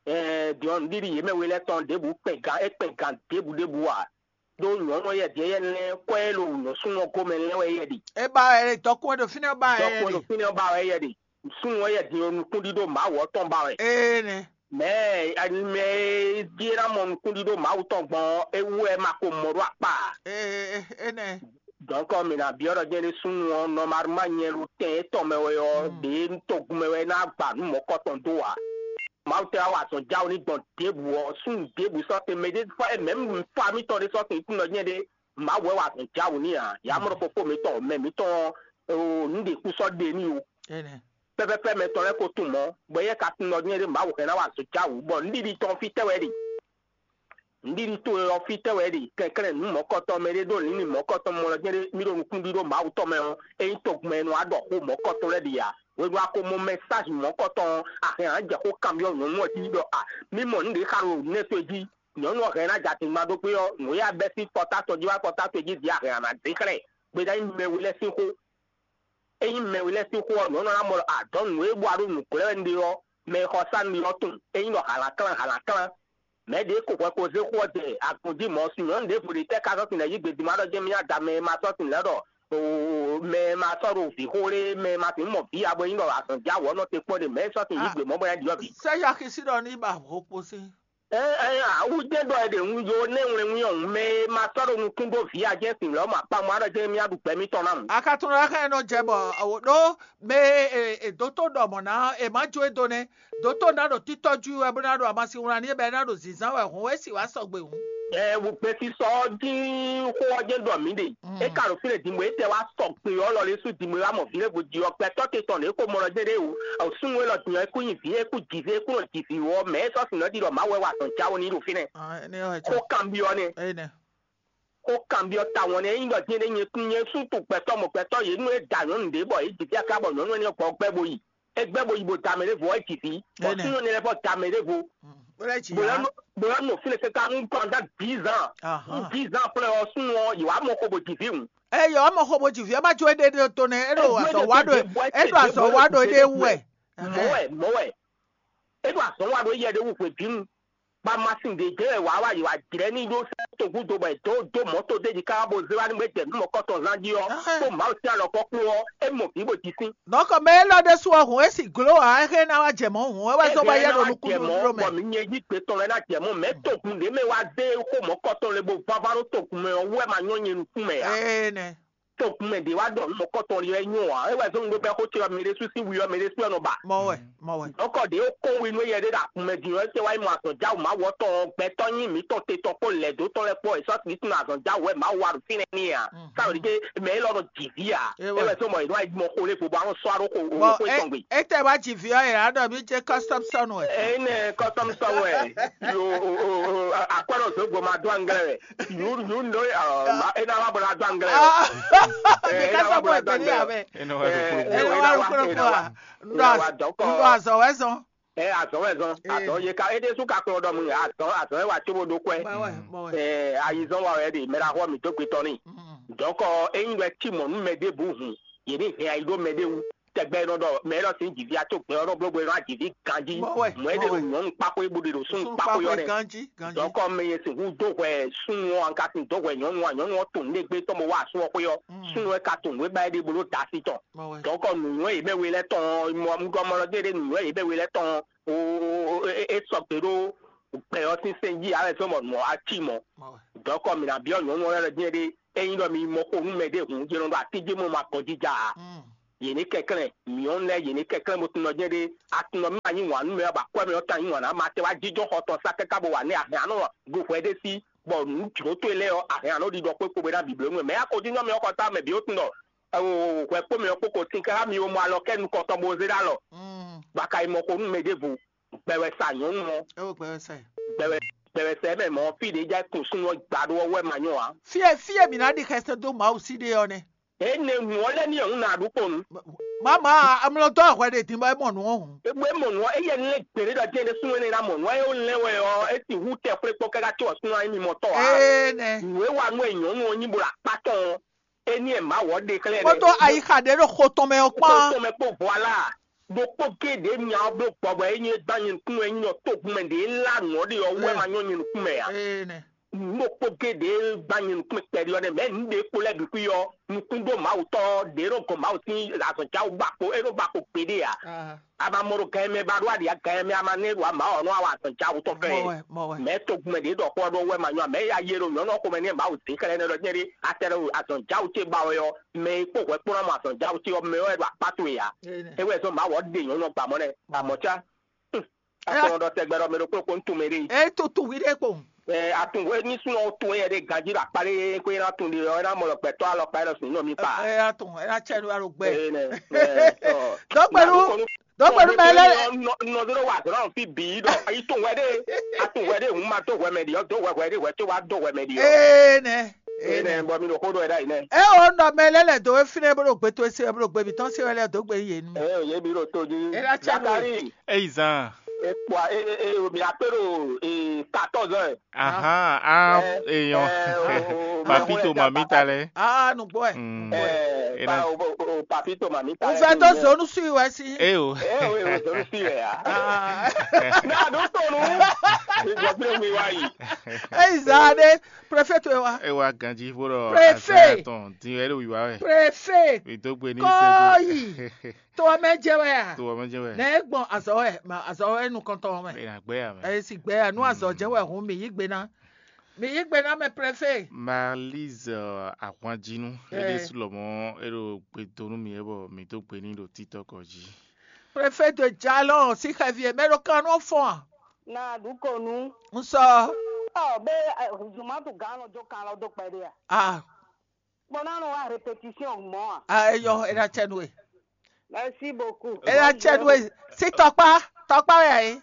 Ɛɛ, din ɔ́, nǔɖiɖi yě mɛ we lɛ́ɛ tɔn ɖěbǔ kpɛn gan é kpɛn gan ɖěbǔ ɖěbǔ ǎ. Ɖó nyɔ̌nu ɔ́ yɛ din éyɛ́ lɛ́ɛ kwɛ́ e ɖo nyɔ̌súnú ɔ́ gomɛ lɛ́ɛ wɛ yɛ ɖe. É ba wɛ ɖe, dɔkun e ɖo fínɛ́ ɔ́ ba wɛ yɛ Dɔkun e ɖo ɖe. Fínɛ́ ɔ́ ba wɛ yɛ ɖe. Súnnu ɔ́ yɛ din nukúnɖíɖó Mawu ɔ́ tɔn ba wɛ. Énɛ́. Mɛ̌ mɛ e jí é ná mɔ nukúnɖíɖó Mawu tɔn gbɔn ɔ́, é wú wɛ é ma ko mɔ ɖó akpá ǎ. Énɛ́. Dɔ̌nkɔ mǐ ná byɔ́ ɖɔ jɛ́n ɖé súnnu ɔ́, nɔmalma nyɛ ɖo tɛn étɔn mɛ wɛ ɔ́, ɖě togun mɛ wɛ é ná gba nǔ mɔ̌kɔtɔn dó ǎ. Mawu tɛ wá wa azɔ̌ jáwé ní gbɔn ɖěbǔ ɔ́, súnnu ɖěbǔ sɔ́ te mɛ ɖé fɔ mɛ̌ fa mitɔn ɖé sɔ́ te kún nɔ nyɛ ɖé. Mawu wɛ wa azɔ̌ jáwé ní ǎ. Yǎ mɔ ɖɔ fofó mitɔn, mɛ mitɔn ɔ́, nǔ ɖě kú sɔ́ ɖe n'i o. Pɛ́pɛ́pɛ́ mɛ tɔn lɛ́ɛ ko tunwun mɔ̌, bɔ éyɛ́ ka tunwun ɖɔ nyɛ ɖé Mawu hɛn ná wa azɔ̌ jáwé, bɔ nǔɖiɖi tɔn fítɛ́ wɛ ɖe? Nǔɖiɖi towe ɔ́ fítɛ́ wɛ ɖe? Kɛnklɛ́n nǔ mɔ̌kɔtɔn mɛ ɖé ɖó lǐnlin mɔ̌kɔtɔn mɔ lɔ jɛ́n ɖé mì ɖo nukúnɖíɖó Mawu tɔn mɛ ɔ́, ényí togun mɛ e nɔ wá ɖɔ xó mɔ̌kɔtɔn lɛ́ɛ ɖe ǎ. Hwenu a ko mɔ mɛsázi mɔ̌kɔtɔn ɔ́, a hɛn ǎ jɛ xó kanbyɔ́ nyɔ̌nu ɔ́ jí ɖɔ a mì mɔ nǔ ɖě xa ɖo nɛ́ towe jí. Nyɔ̌nu ɔ́ hɛn ná jɛ atingban ɖó gbé ɔ́, nǔ e a bɛ́ sín kpɔ́tá tɔn jí wá kpɔ́tá towe jí din a hɛn a nǎ zé xlɛ́. Gbeda nyí mɛ we lɛ́ɛ sín xó. Ényí mɛ we lɛ́ɛ sín xó ɔ́, nyɔ̌nu ɔ́ ná mɔ ɖɔ a dɔ̌n nǔ e bɔ a ɖo nǔ glɔ́ wɛ un ɖe ɔ́, mɛ e xɔ sá nú mi ɔ́ tunwun. Ényí ɖɔ hǎlǎklán hǎlǎklán, mɛ̌ ɖě ko hwɛ ko zé xó ɔ́ jɛ agun jí mɔ̌, sin nyɔ̌nu ɖěvo ɖě tɛ́ ka sɔ́ sin lɛ́ yí gbe din ma ɖɔ jɛ́n mì nyi ada mɛ e ma sɔ́ sin lɛ́ ɖɔ mɛ e ma sɔ́ ɖo vǐ xó lé, mɛ e ma sixú mɔ vǐ ya bɔ é nyí ɖɔ azɔ̌ já wǔ ɔ́ nɔ te kpɔ́n ɖe mɛ̌ sɔ́ sin yí gbe mɔ̌ bɔ é ná ɖyɔ́ vǐ. Sɛ́ Yaxi sí ɖɔ ní ba hǒkpo sín. Ɛ ɛ awu jɛ́n ɖɔ è ɖe un yo nɛ́ wlɛ́nwín ɔ́, mɛ e ma sɔ́ ɖo nukún dó vǐ a jɛ́n sin lɔ̌ ma kpa mɔ á ɖɔ jɛ́n mì á ɖu gbɛ̌ mitɔn ná mu. Akatunɔ lɛ́ɛ xá ɛ nɔ jɛ bɔ awo ɖó mɛ e e dótó ɖɔ mɔ̌ ná ɔ́, è má jó e dó nɛ́. Dótó ná ɖo títɔ́ jú wɛ bó ná ɖo amasin wlán n'i bɔ é ná ɖo zǐnzán wɛ hǔn é sì wá sɔgbe hǔn. Ɛ wo gbɛsisɔ ɔ́ dín xó ɔ́ jɛ́n ɖɔ mǐ ɖe. É ka ɖo fínɛ́ din bɔ é tɛ wá sɔgbe ɔ́ lɔ lɛ́ sú din bɔ é wá mɔ vǐ lɛ́ɛ vo ji ɔ́, gbɛtɔ́ te tɔn ɖě ko mɔ lɔ jɛ́n ɖé o. Súnnu élɔ́ din ɔ́, é kú nyi vǐ, é kú ji vǐ, é kú nɔ ji vǐ wɔ mɛ é sɔ́ sin nɔ ɖi ɖɔ Mawu wɛ wa azɔ̌ jáwé n'i ɖo fínɛ́. Xó kanbyɔ́ nɛ́. Xó kanbyɔ́ tawun nɛ́, ényí ɖɔ din ɖé nyɛ kún nyɛ súntu gbɛtɔ́ mɔ gbɛtɔ́ yě nú é da nyɔ̌nu ɖě bɔ é ji fí aká bɔ nyɔ̌nu énɛ́ gbɔ gbɛ bo yi. É gbɛ bo yi bo da mɛ ɖěvo é ji vǐ. Bɔ súnnu énɛ́ lɛ́ɛ vɔ da mɛ ɖěvo. Bó lɛ́ ji Bó lɛ́ ya. Nɔ bó lɛ́ nɔ fínɛ́ káká nú pendant dix ans. Ahán. Nú dix ans après ɔ́, súnnu ɔ́, yě wá mɔ xo bó ji vǐ hǔn. Eye ɔmɔ xo bó ji vǐ ɔ́ ma jó éɖé ɖé to nɛ é ɖo Ejue azɔ̌ ɖe wa ɖo ɖe é ɖo azɔ̌ wa ɖo éɖé wú wɛ. Mɔ̌ wɛ, mɔ̌ wɛ. É ɖo azɔ̌ wa ɖo éyɛ ɖé wú hwebǐnu. Ba masin ɖě jɛ wɛ wǎ wá yi wá jlɛ́ ní ɖó sɛ́ togúdo bɔ è dǒ dó mɔ̌to d'é jí káká bó zé wá ní gbé jɛ nǔ mɔ̌kɔtɔn zán jí ɔ́, Ahɛn. Kpó Mawu sín alɔkɔ kpó ɔ́, é mɔ vǐ bó jí sín. Nɔkɔ mɛ élɔ́ ɖésú ɔ́ hǔn é sì gló ǎ, é xé ná wá jɛ mɔ̌ hǔn é wɛ zɔ́n bɔ yɛ ɖo nukúnnú ɖó mɛ. Bɔ mi nyɛ jí gbe tɔn lɛ́ɛ ná jɛ mɔ̌, mɛ togun ɖě mɛ wá zé xó mɔ̌kɔtɔn lé bó vává ɖó togun mɛ ɔ́ wú wɛ ma nyɔ́ nyɛ nukún mɛ ǎ. Ee nɛ. Togun mɛ ɖě wá ɖɔ nǔ mɔ̌kɔtɔn lé wɛ nyɔ́ ǎ, é wɛ zɔ́n ɖó bɛ́ xó ce ɔ́ mi ɖésú sín wi ɔ́ mi ɖésú ɔ́ nɔ ba. Mɔ wɛ, mɔ wɛ. Dɔ̌nkɔ ɖě ó kɔn we nú éyɛ́ ɖé ɖo agun mɛ din ɔ́, é tɛ́ wá nyí mɔ azɔ̌ jáwǔ Mawu ɔ́ tɔn ɔ́, gbɛtɔ́ nyí mǐtɔn te tɔn kpó lɛ̌ dó tɔn lɛ́ɛ kpó, è sɔ́ Kristu nɔ azɔ̌ jáwǔ wɛ Mawu wa ɖo fínɛ́ n'i ǎ. Káwé ɖíké mɛ élɔ́ nɔ ji vǐ ǎ. É wɛ. É wɛ zɔ́n mɔ è nɔ wá yi mɔ xo lé vo bɔ a nɔ sɔ́ wá ɖó xo Bɔn xo é- tɔn gbe. Ete wá dzi vi ɔ́ yě ná ɖɔ mí jɛ custom sɔn wɛ. Eyi nɛ custom sɔn wɛ. Yo o o o akwɛ́ ɖɔ zǒgbo ma dó anglɛ wɛ. Yu yu ndo ɛ ɔ ma e na wa bɔ na dó anglɛ wɛ. Ah, Ɛ, mi e ka na sɔ wa bɔ bɔ na dó ẹgbẹ́ ní anglɛ wɛ. Abẹ́. Eno wa Ẹ do kpolo. Ẹ lọ wá lukúlùkù à. Ẹ wá dɔkọ. Ndo azɔ wɛ zɔn. Ɛ azɔn wɛ zɔn. Ee. Azɔn ye ka e ɖe su ka kplɔ dɔ mu azɔn azɔn wɛ wa tso bo do kwɛ. Bawɛ bawɛ. Ɛ ayizɔn wa wɛ de mɛ la xɔ mi do gbe tɔ ni. Mm. Dɔkɔ eyin wɛ ti mɔ nu mɛ de bu hun. Ye ni hɛn ayi do mɛ de wu. tɛgbɛ e nɔ ɖɔ mɛ élɔ́ sín jǐví a tó gbɛ ɔ́ nɔ bló bó e nɔ wá jǐví ganjí. Mɔ̌ wɛ, mɔ̌ é ɖe ɖo nyɔ̌nu kpákó e bó ɖe ɖo súnnu kpákó yɔ́ nɛ́. Ganjí, ganjí. Dɔ̌nkɔ mɛ e sixú dó hwɛ súnnu ɔ́, an ka sixú dó hwɛ nyɔ̌nu ɔ́, nyɔ̌nu ɔ́ tunwun nǔɖé gbé tɔn bó wá asú ɔ́ xwé ɔ́, súnnu ɔ́ ka tunwun nǔ e ba é ɖe bó ɖó da sí tɔn. Mɔ̌ wɛ. Dɔ̌nkɔ nǔnywɛ́ yě mɛ we lɛ́ɛ tɔn ɔ́, mɔ un gɔ́ mɔ lɔ dó é ɖé nǔnywɛ́ yě mɛ we lɛ́ɛ tɔn ɔ́, o, o, o, é, é, é sɔgbe ɖó gbɛ ɔ́ sín sɛn jí ǎ wɛ zɔ́n bɔ nǔ ɔ́ wá cí mɔ̌. Mɔ̌ wɛ. Dɔ̌nkɔ mǐ ná byɔ́ nyɔ̌nu ɔ́ lɛ́ɛ ɖɔ jɛ́n ɖé, ényí ɖɔ mi mɔ xo nú mɛɖé hǔn, yě nɔ ɖo atín jí mɔ ma gɔn jija ǎ. Mm. Yě ní kɛnklɛ́n, mǐ ɔ́ lɛ́ɛ yě ní kɛnklɛ́n bó tunɔ jɛ́n ɖé. A tunɔ mì ma yí wǎn nú mɛ ɔ́, bɔ akwɛ́ mɛ ɔ́ ka yí wǎn ná ma tɛ́ wá jínjɔ́n xɔ tɔn sá káká bó wa nɛ́ ahɛn anɔ ɖo hwɛ ɖé sí, bɔ nǔ jlǒ towe lɛ́ɛ ɔ́, ahɛn anɔ ɖiɖɔ kpé kpo bó ná bǐbló nú mɛ. Mɛ yá ko jínjɔ́n mɛ ɔ́ xɔ tá mɛ bǐ ó tunɔ, hwɛ kpo mɛ ɔ́ kpókò tín káká mi ó mɔ alɔ kɛ nukɔntɔn bó zé ɖó alɔ, bɔ a ka yi mɔ xo nú mɛ ɖěvo, gbɛ wɛ sa nyɔ̌nu ɔ́. É wo gbɛ wɛ sa ɛ. Gbɛ wɛ gbɛ wɛ sa ɛ mɛ mɔ̌, fí ɖě já kun súnnu ɔ́ gba ɖó ɔ́ wɛ ma nyɔ́ ǎ. Fí e fí e mǐ ná ɖi xɛsɛn dó Mawu sí ɖe ɔ́ nɛ́. Énɛ́ hǔn ɔ́ lɛ́ ní nyɔ̌nu ná ɖu kponu. Mama, amlɔtɔ ahwɛ ɖe din bɔ é mɔ nǔ ɔ́ hǔn. Ébú é mɔ nǔ ɔ́, éyɛ́ ní lɛ́ gběɖé ɖɔ jɛ́n ɖé súnnu énɛ́ ná mɔ nǔ ɔ́, é ó lɛ́n wɛ ɔ́, é sixú tɛ xwlé kpɔ́ káká có ɔ́ súnnu ɔ́ nyí mɔtɔ́ ǎ. Énɛ́. Nǔ e wa nú ɛ nyɔ̌nu ɔ́ nyí bo ɖo akpá tɔn ɔ́, é ní ɛ Mawu ɔ́ ɖe xlɛ́ nɛ́. Kpódó ayixa ɖě ɖo xo tɔn mɛ ɔ́ kpán. Xo tɔn mɛ kpó vɔ alá. Ɖokpó géɖé nya ɔ́ bló gbɔbɔ e nyí é gbán nyɛ nukúnnú wɛ nyí ɔ́ togun mɛ ɖě lá nǔ ɔ́ ɖe ɔ́ wú wɛ ma nyɔ́ nyɛ nukún mɛ ǎ. Nǔ ɖokpó géɖé gbán nyɛ nukún mɛ kpɛɖé ɔ́ nɛ́, mɛ̌ nǔɖé kpo lɛ́ɛ bǐ xwí ɔ́, nukún ɖó Mawu tɔn ɔ́, ɖě nɔ gɔn Mawu sín azɔ̌jáwú ba kpo é nɔ ba kpo gbeɖé ǎ. A ma mɔ ɖo gan e mɛ ba ɖó aɖǐ gan e mɛ a ma nɛ́ ɖo ama ɔ́ nɔ wa azɔ̌jáwú tɔn fɛ. Mɛ togun mɛ ɖě ɖɔ xó ɔ́ ɖó wɛ ma nyɔ́ ǎ. Mɛ̌ ya yé ɖo nyɔ̌nu ɔ́ xomɛ nɛ́ Mawu dín xlɛ́ nɛ́ ɖɔ jɛ́n ɖé a tɛ ɖo azɔ̌jáwú ce ba wɛ ɔ́, mɛ e kpó hwɛ kpó ná mɔ azɔ̌jáwú ce ɔ́, mɛ ɔ́ wɛ ɖo akpá towe ǎ. É wɛ zɔ́n Mawu ɔ́ ɖe nyɔ̌nu ɔ́ gba mɔ̌ nɛ́. Amɔ̌ cá, a ko nɔ ɖɔ tɛgbɛ ɖɔ mɛ ɖokpó ɖokpó un tunwun mɛ ɖé. É tutu hwi ɖé kpo. Ɛ, a tunwun hwenu súnnu ɔ́ tunwun éyɛ́ ɖé ganjí ɖo akpá ɖé xwé ná tunwun ɖe ɔ́, é ná mɔ ɖɔ gbɛtɔ́ alɔkpa é nɔ sin nɔ mi kpa. É ná tunwun, é ná cɛ nú alɔ gbɛ. Ɛ, nɛ, ɛ, ɔ. Dɔgbɛnu, dɔgbɛnu mɛ lɛ. Nɔ dó wa zɔn fi bǐ ɖɔ ayi tunwun hwɛ ɖé, a tunwun hwɛ ɖé hun ma dó hwɛ mɛ ɖi ɔ́, dó hwɛ hwɛ ɖé hwɛ tó wá dó hwɛ mɛ ɖi ɔ́. Ee nɛ. Ee nɛ, bɔ mi ɖo xó ɖɔ ɛ ɖ'ayǐ nɛ. É o nɔ mɛ lɛ lɛ dó we fínɛ́ bó ɖo gbe towe se wɛ bó ɖo gbe mǐtɔn se wɛ lɛ dó gbe yě nú mì. Ɛ, yě bí ɖo tó jí. É ná cɛ nú we. Zakari. Eyi zan. E kpɔ e e e mi akpé ɖo e quatorze heures. Ahan, ah, Ɛ, èèyàn. Ɛ, o, o, Papi o, to mami ta lɛ. Ah, nùgbọ́ ẹ̀. Mm. Ɛ, Ena- pa- o, o, o, papi to mami ta. N fẹ́ tó zonu sí wẹ́ sí. E o. Ɛ, o, o, zonu sí wẹ́ ya. Ah. Ní àdó tònú. Ìjọ pé mi wá yìí. Eyi zan ɖe, prefet wɛ wa. E wa ganji fo ɖɔ. Prefet. Azan tɔn din wɛ ɖo wiwa wɛ. Prefet. Mi dó gbe ní Kɔyi. To ɔ́ mɛ jɛ wɛ a? To ɔ́ mɛ jɛ wɛ. Nɛ e gbɔn azɔ wɛ, ma azɔ wɛ nukɔntɔn mɛ. E na gbɛ ya mɛ. E si gbɛ ya nú azɔ jɛ wɛ hun mi yí gbe ná. Mi yí gbe ná mɛ prefet. Malise ahwanjinu. Ɛ. Ele su lɔmɔ e ɖo gbe do nú mi e bɔ mi dó gbe ní ɖo títɔ kɔ jí. Prefet de jalɔ si xɛvi e mɛ ɖo kan nɔ fɔn a? Na ɖu ko nu. N sɔ. Ɔ bɛ zumatu gan nɔ jó kan lɔ dó kpɛɖé a? Ah. Bɔ ná nɔ wá répétition mɔ̌ a? Ah, eyɔ, e ná cɛ nú we. Merci beaucoup. E ná cɛ nú we. Si tɔkpa, tɔkpa wɛ ayi.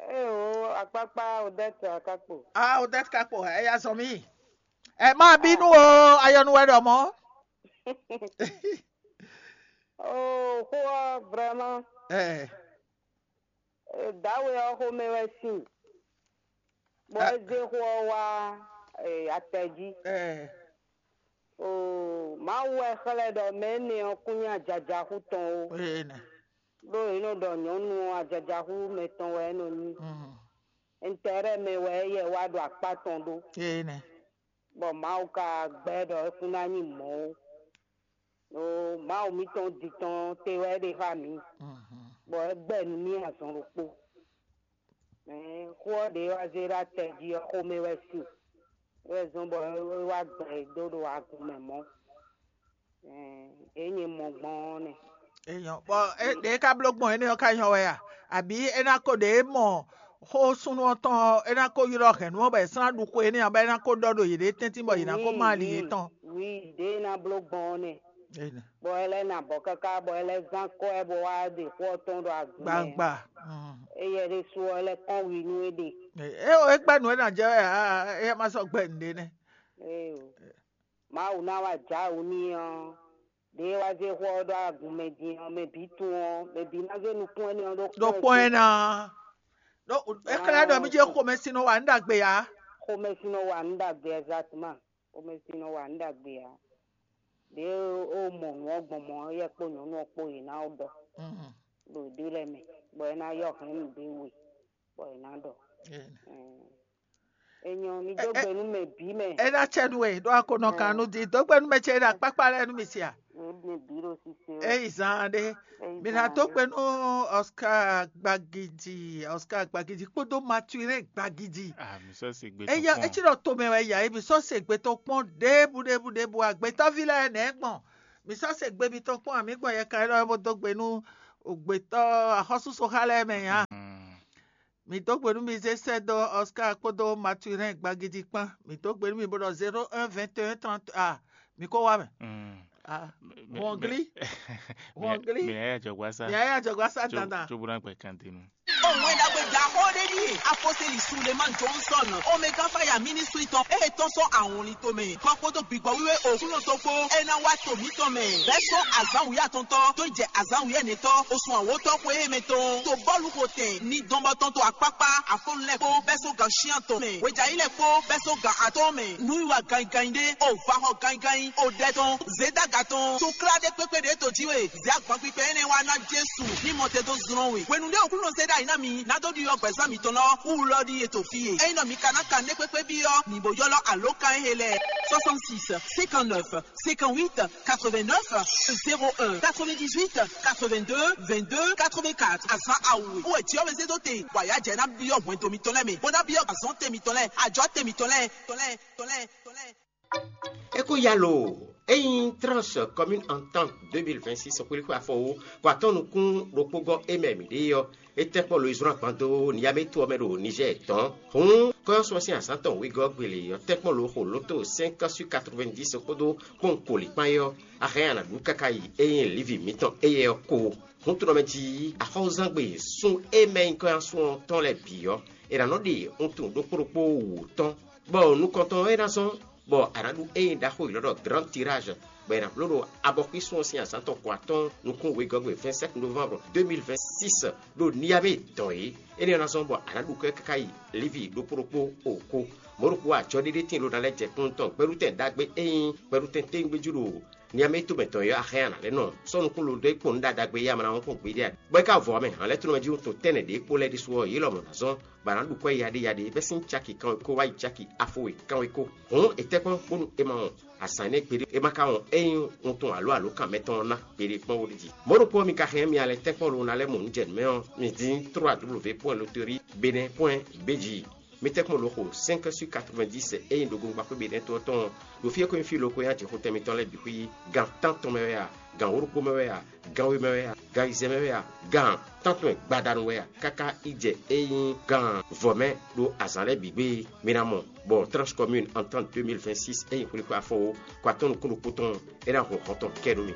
Ee o, akpakpa Odette Akakpo. Ah, Odette Kakpo, e ya zɔn mi. Ɛ má bínú o, ayɔnu wɛ ɖɔ mɔ. Oh, xó ɔ́ vraiment. Ɛ. Dǎwe ɔ́ xomɛ wɛ sin, bɔ é zé xó ɔ́ wá atɛ jí. Mawu wɛ xlɛ́ ɖɔ mɛ énɛ́ ɔ́ kún nyí ajajaxú tɔn ó, ɖó è nɔ ɖɔ nyɔ̌nu ɔ́ ajajaxú mɛtɔn wɛ é nɔ nyí. Ɛntɛ́rɛ́ mɛ wɛ éyɛ́ wá ɖo akpá tɔn ɖó, bɔ Mawu ka gbɛ́ ɖɔ é kún ná nyí mɔ̌ ó. Ɖó Mawu mǐtɔn din tɔn te wɛ é ɖe xá mǐ, bɔ é gbɛ nú mì azɔn ɖokpó. Xó ɔ́ ɖě wá zé ɖó atɛ jí ɔ́, xomɛ wɛ sin, é wɛ zɔ́n bɔ é wá gbɛ dó ɖo agun mɛ mɔ̌. Ɖě nyɛ mɔ gbɔn ɔ́ nɛ́. Enyɔ bɔ ɖě ka bló gbɔn énɛ́ ɔ́ ka nyɔ wɛ a? Abǐ é ná ko ɖě mɔ xó súnnu ɔ́ tɔn ɔ́, é ná ko ylɔ́ hɛ̌nnu ɔ́ bɔ è sɔ́ ná ɖu xó énɛ́ ǎ, bɔ é ná ko ɖɔ ɖo yěɖée tɛ́ntin bɔ yě ná ko má ali yětɔn. Wi ɖě é ná bló gbɔn ɔ́ nɛ́. Bɔ é lɛ́ ná bɔ káká bɔ é lɛ́ zán kɔ́ ɛ bɔ wá ɖe xó ɔ́ tɔn ɖo agun mɛ. Gbangba. Éyɛ́ ɖésú ɔ́, é lɛ́ kɔn wi nú é ɖe. É o, é gbɛ́ nǔ e ná jɛ wɛ ǎ, é ma sɔ́ gbɛ́ nǔɖé nɛ́. Éyo. Mawu ná wá jǎ wǔ n'i ɔ́, ɖě e wá zé xó ɔ́ ɖó agun mɛ din ɔ́, mɛ bǐ tunwun ɔ́, mɛ bǐ ná zé nukún énɛ́ ɔ́ ɖó Ɖó kpɔ́n ɛ ná. Ɖó é xlɛ́ ɖɔ mí jɛ xomɛsin nɔ wa nǔ ɖagbe ǎ. Xomɛsin nɔ wa nǔ ɖagbe exactement. Xomɛsin nɔ wa nǔ ɖagbe ǎ. ɖě ó mɔ nǔ ɔ́ gbɔn mɔ̌, éyɛ́ kpó nyɔ̌nu ɔ́ kpó yě ná ɖɔ ɖo ɖě lɛ́ɛ mɛ, bɔ é ná yɔ hɛn nǔ ɖé we, bɔ yě ná ɖɔ. Enyɔ, mi dó gbe nú mɛ bǐ mɛ. É ná cɛ nú we ɖó a ko nɔ kan nú di dó gbe nú mɛ ce e ɖo akpákpá lɛ́ɛ nú mi sia. Mɛ bǐ ɖo sise. Eyi zan ɖé. Mi ná dó gbe nú Oscar Gbagidi, Oscar Gbagidi kpódó Mathurin Gbagidi. Ah, mi sɔ se gbe. Eya etsi ɖɔ tomɛ wɛ ya ebi sɔ se gbe tɔn kpɔn ɖěbǔ ɖěbǔ ɖěbǔ agbetɔ́ví lɛ́ɛ nɛ̌ gbɔn. Mi sɔ se gbe mitɔn kpɔn amǐ gbɔn yɛ ka élɔ́ bó dó gbe nú gbětɔ́ axɔ́súsɔxá lɛ́ɛ mɛ nya. Mi dó gbe nú mi zé sɛ́ dó Oscar kpódó Mathurin Gbagidi kpán. Mi dó gbe nú mi bó ɖɔ zéro un vingt et un trente. Ah, mi ko wá mɛ. Ah, Hɔngli. Hɔngli. Mi yá yá jɔgba sá. Mi yá yá jɔgba sá dandan. Tso bó ná gbɛ kan denu. Òun ẹ̀dá gbé da xó ɖé ɖíe apɔ́sítélì Sulemán Johnson Omega Fire Ministry tɔn e tɔ́n sɔ́ ahɔnlin tomɛ kɔ kpódó gbígbɔ wíwé òkúlò tó kpó é ná wá to mǐtɔn mɛ. Bɛ́ sɔ́ azǎn wǔyá atɔntɔ́ tó jɛ azǎn wǔyá nɛtɔ́ osun awǒtɔ́ xwé e mɛ tɔn to bɔ́lu xo tɛn ní dɔnbɔtɔn to akpákpá afɔnulɛ kpó bɛ́ sɔ́ gan shiantɔn mɛ wejayilɛ kpó bɛ́ sɔ́ gan atɔ́ɔ́n mɛ nǔwiwa ganyiganyi ɖé o vahɔ ganyiganyi o ɖɛ tɔn zědaga tɔn to klá ɖé kpékpé ɖě to jí we. Zě agbankpikpɛ énɛ́ wá ná Jesu ní mɔ te dó zlɔ́n we. Hwenu ɖé Aklúnɔ zé ɖ'ayǐ ná mi ná dó ɖyɔ́ gbɛ̌zán mitɔn lɔ wú lɔ ɖíe to fí e. Ényí nɔ mi ka ná kan nɛ́ kpékpé byɔ́, mi bo ylɔ́ alǒkan e lɛ́ɛ: soixante-six, cinquante-neuf, cinquante-huit, quatre-vingt-neuf, zéro un, quatre-vingt-dix-huit, quatre-vingt-deux, vingt-deux, quatre-vingt-quatre. Azǎn awu e wú wɛ Jǐ ɔ́ wɛ zé dó te, bɔ ayǎjɛ ná byɔ́ hwɛndo mitɔn lɛ́ɛ mɛ, bó ná byɔ́ azɔ̌n te mitɔn lɛ́ɛ, ajɔ̌ te mitɔn lɛ́ɛ, tɔn lɛ́ɛ, tɔn lɛ́ɛ, tɔn lɛ́ɛ. É kó yá lo, ényí Tranche Commune Entente deux mille vingt-six xwlíxwé afɔ wú, kɔ atɔ́ nukún ɖokpó gɔ́ é mɛ mǐ ɖe ɔ́, é tɛ́ kpɔ́ lo yi zlɔ́n agban dó Niyamétu ɔ́ mɛ ɖo Nizɛ́ɛ tɔn. Hǔn kɔ́yɔ́sú ɔ́ sín azǎn tɔn wegɔ́ gbele ɔ́ tɛ́ kpɔ́ lo xo lǒto cinq cent quatre-vingt-dix kpódó kpɔ́n kolǐkpán é ɔ́, a hɛn a nǎ ɖu káká yi é nyí Livi mǐtɔn éyɛ́ ɔ́ kó. Hǔn tunɔ mɛ jí axɔ́zángbé sún é mɛ nyí kɔ́yɔ́sú ɔ́ tɔn lɛ́ɛ bǐ ɔ́, è nǎ nɔ ɖe wuntun ɖokpó ɖokpó wǔ tɔn, bɔ nukɔntɔn ɔ́ é ná zɔ́n, bɔ a nǎ ɖu ényí ɖaxó élɔ́ ɖɔ Grand Tirage, bɔ è nǎ bló ɖo abɔxwísun ɔ́ sín azǎn tɔn kɔ atɔ́ɔ́n nukún wegɔ́gbe vingt-sept novembre deux mille vingt-six ɖo Niamey dɔn é. Énɛ́ ɔ́ ná zɔ́n bɔ a nǎ ɖu kɛ́ káká yi Livi ɖokpó ɖokpó o kó. Mɔ̌ ɖokpó ajɔ ɖé ɖé tíin ɖó ná lɛ́ jɛ kúnnu tɔn gbɛɖutɛn ɖagbe é nyí gbɛɖutɛn téwúngbéjú ɖo Niamey tomɛ tɔn é ɔ́, a hɛn a nǎ lɛ́ nɔ sɔ́ nukún lo dó é kpɔ́n nǔ ɖagbe e a ma ná wɔn kpɔ́n gbeɖé ǎ. Bɔ é ka vɔ ɔ́ mɛ, hǎn lɛ́ɛ tlɔ́nmɛjí wuntun tɛ́nnɛ ɖě kpó lɛ́ɛ ɖésú ɔ́, yě lɔmɔ̌ ná zɔ́n, bɔ a nǎ ɖu kwɛ́ yaɖéyaɖé bɛ́ sín caki kanwekó wá yi caki afo e kanwekó. Hǔn è tɛ́ kpɔ́n bónú è ma wɔn azǎn énɛ́ gbeɖé, è ma ka wɔn é nyí wuntun alo alǒkan mɛtɔn ɔ́ ná gbeɖé kpɔ́n ó ɖi jí. Mɔ̌ ɖokpó ɔ́, mi ka hɛn mì alɛ tɛ́nkpɔ́n lo ná lɛ́ mɔ nǔ jɛ nǔ mɛ ɔ́, mi dín trois W point loterie bénin point B J. Mi tɛ́nkpɔ́n lo xo cinq sur quatre-vingt-dix e nyí ɖogbongba xwé Benɛ́ to ɔ́ tɔn ɔ́, ɖo fí e ko nyí fí lo ko nyí ajixotɛn mitɔn lɛ́ɛ bǐ xwí gan tántɔn mɛ wɛ a, gan wǒ ɖokpó mɛ wɛ a, gan we mɛ wɛ a, gan ayizɛ́n mɛ wɛ a, gan tántɔn e gbadanu wɛ a, káká yi jɛ e nyí gan vɔ̌ mɛ ɖo azǎn lɛ́ɛ bǐ gbe e mi ná mɔ, bɔ Tranche Commune Entente deux mille vingt-six e nyí xwlíxwé afɔwó kɔ atɔ́ nukún ɖokpó tɔn é ná hun hɔn tɔn kɛ nú mi.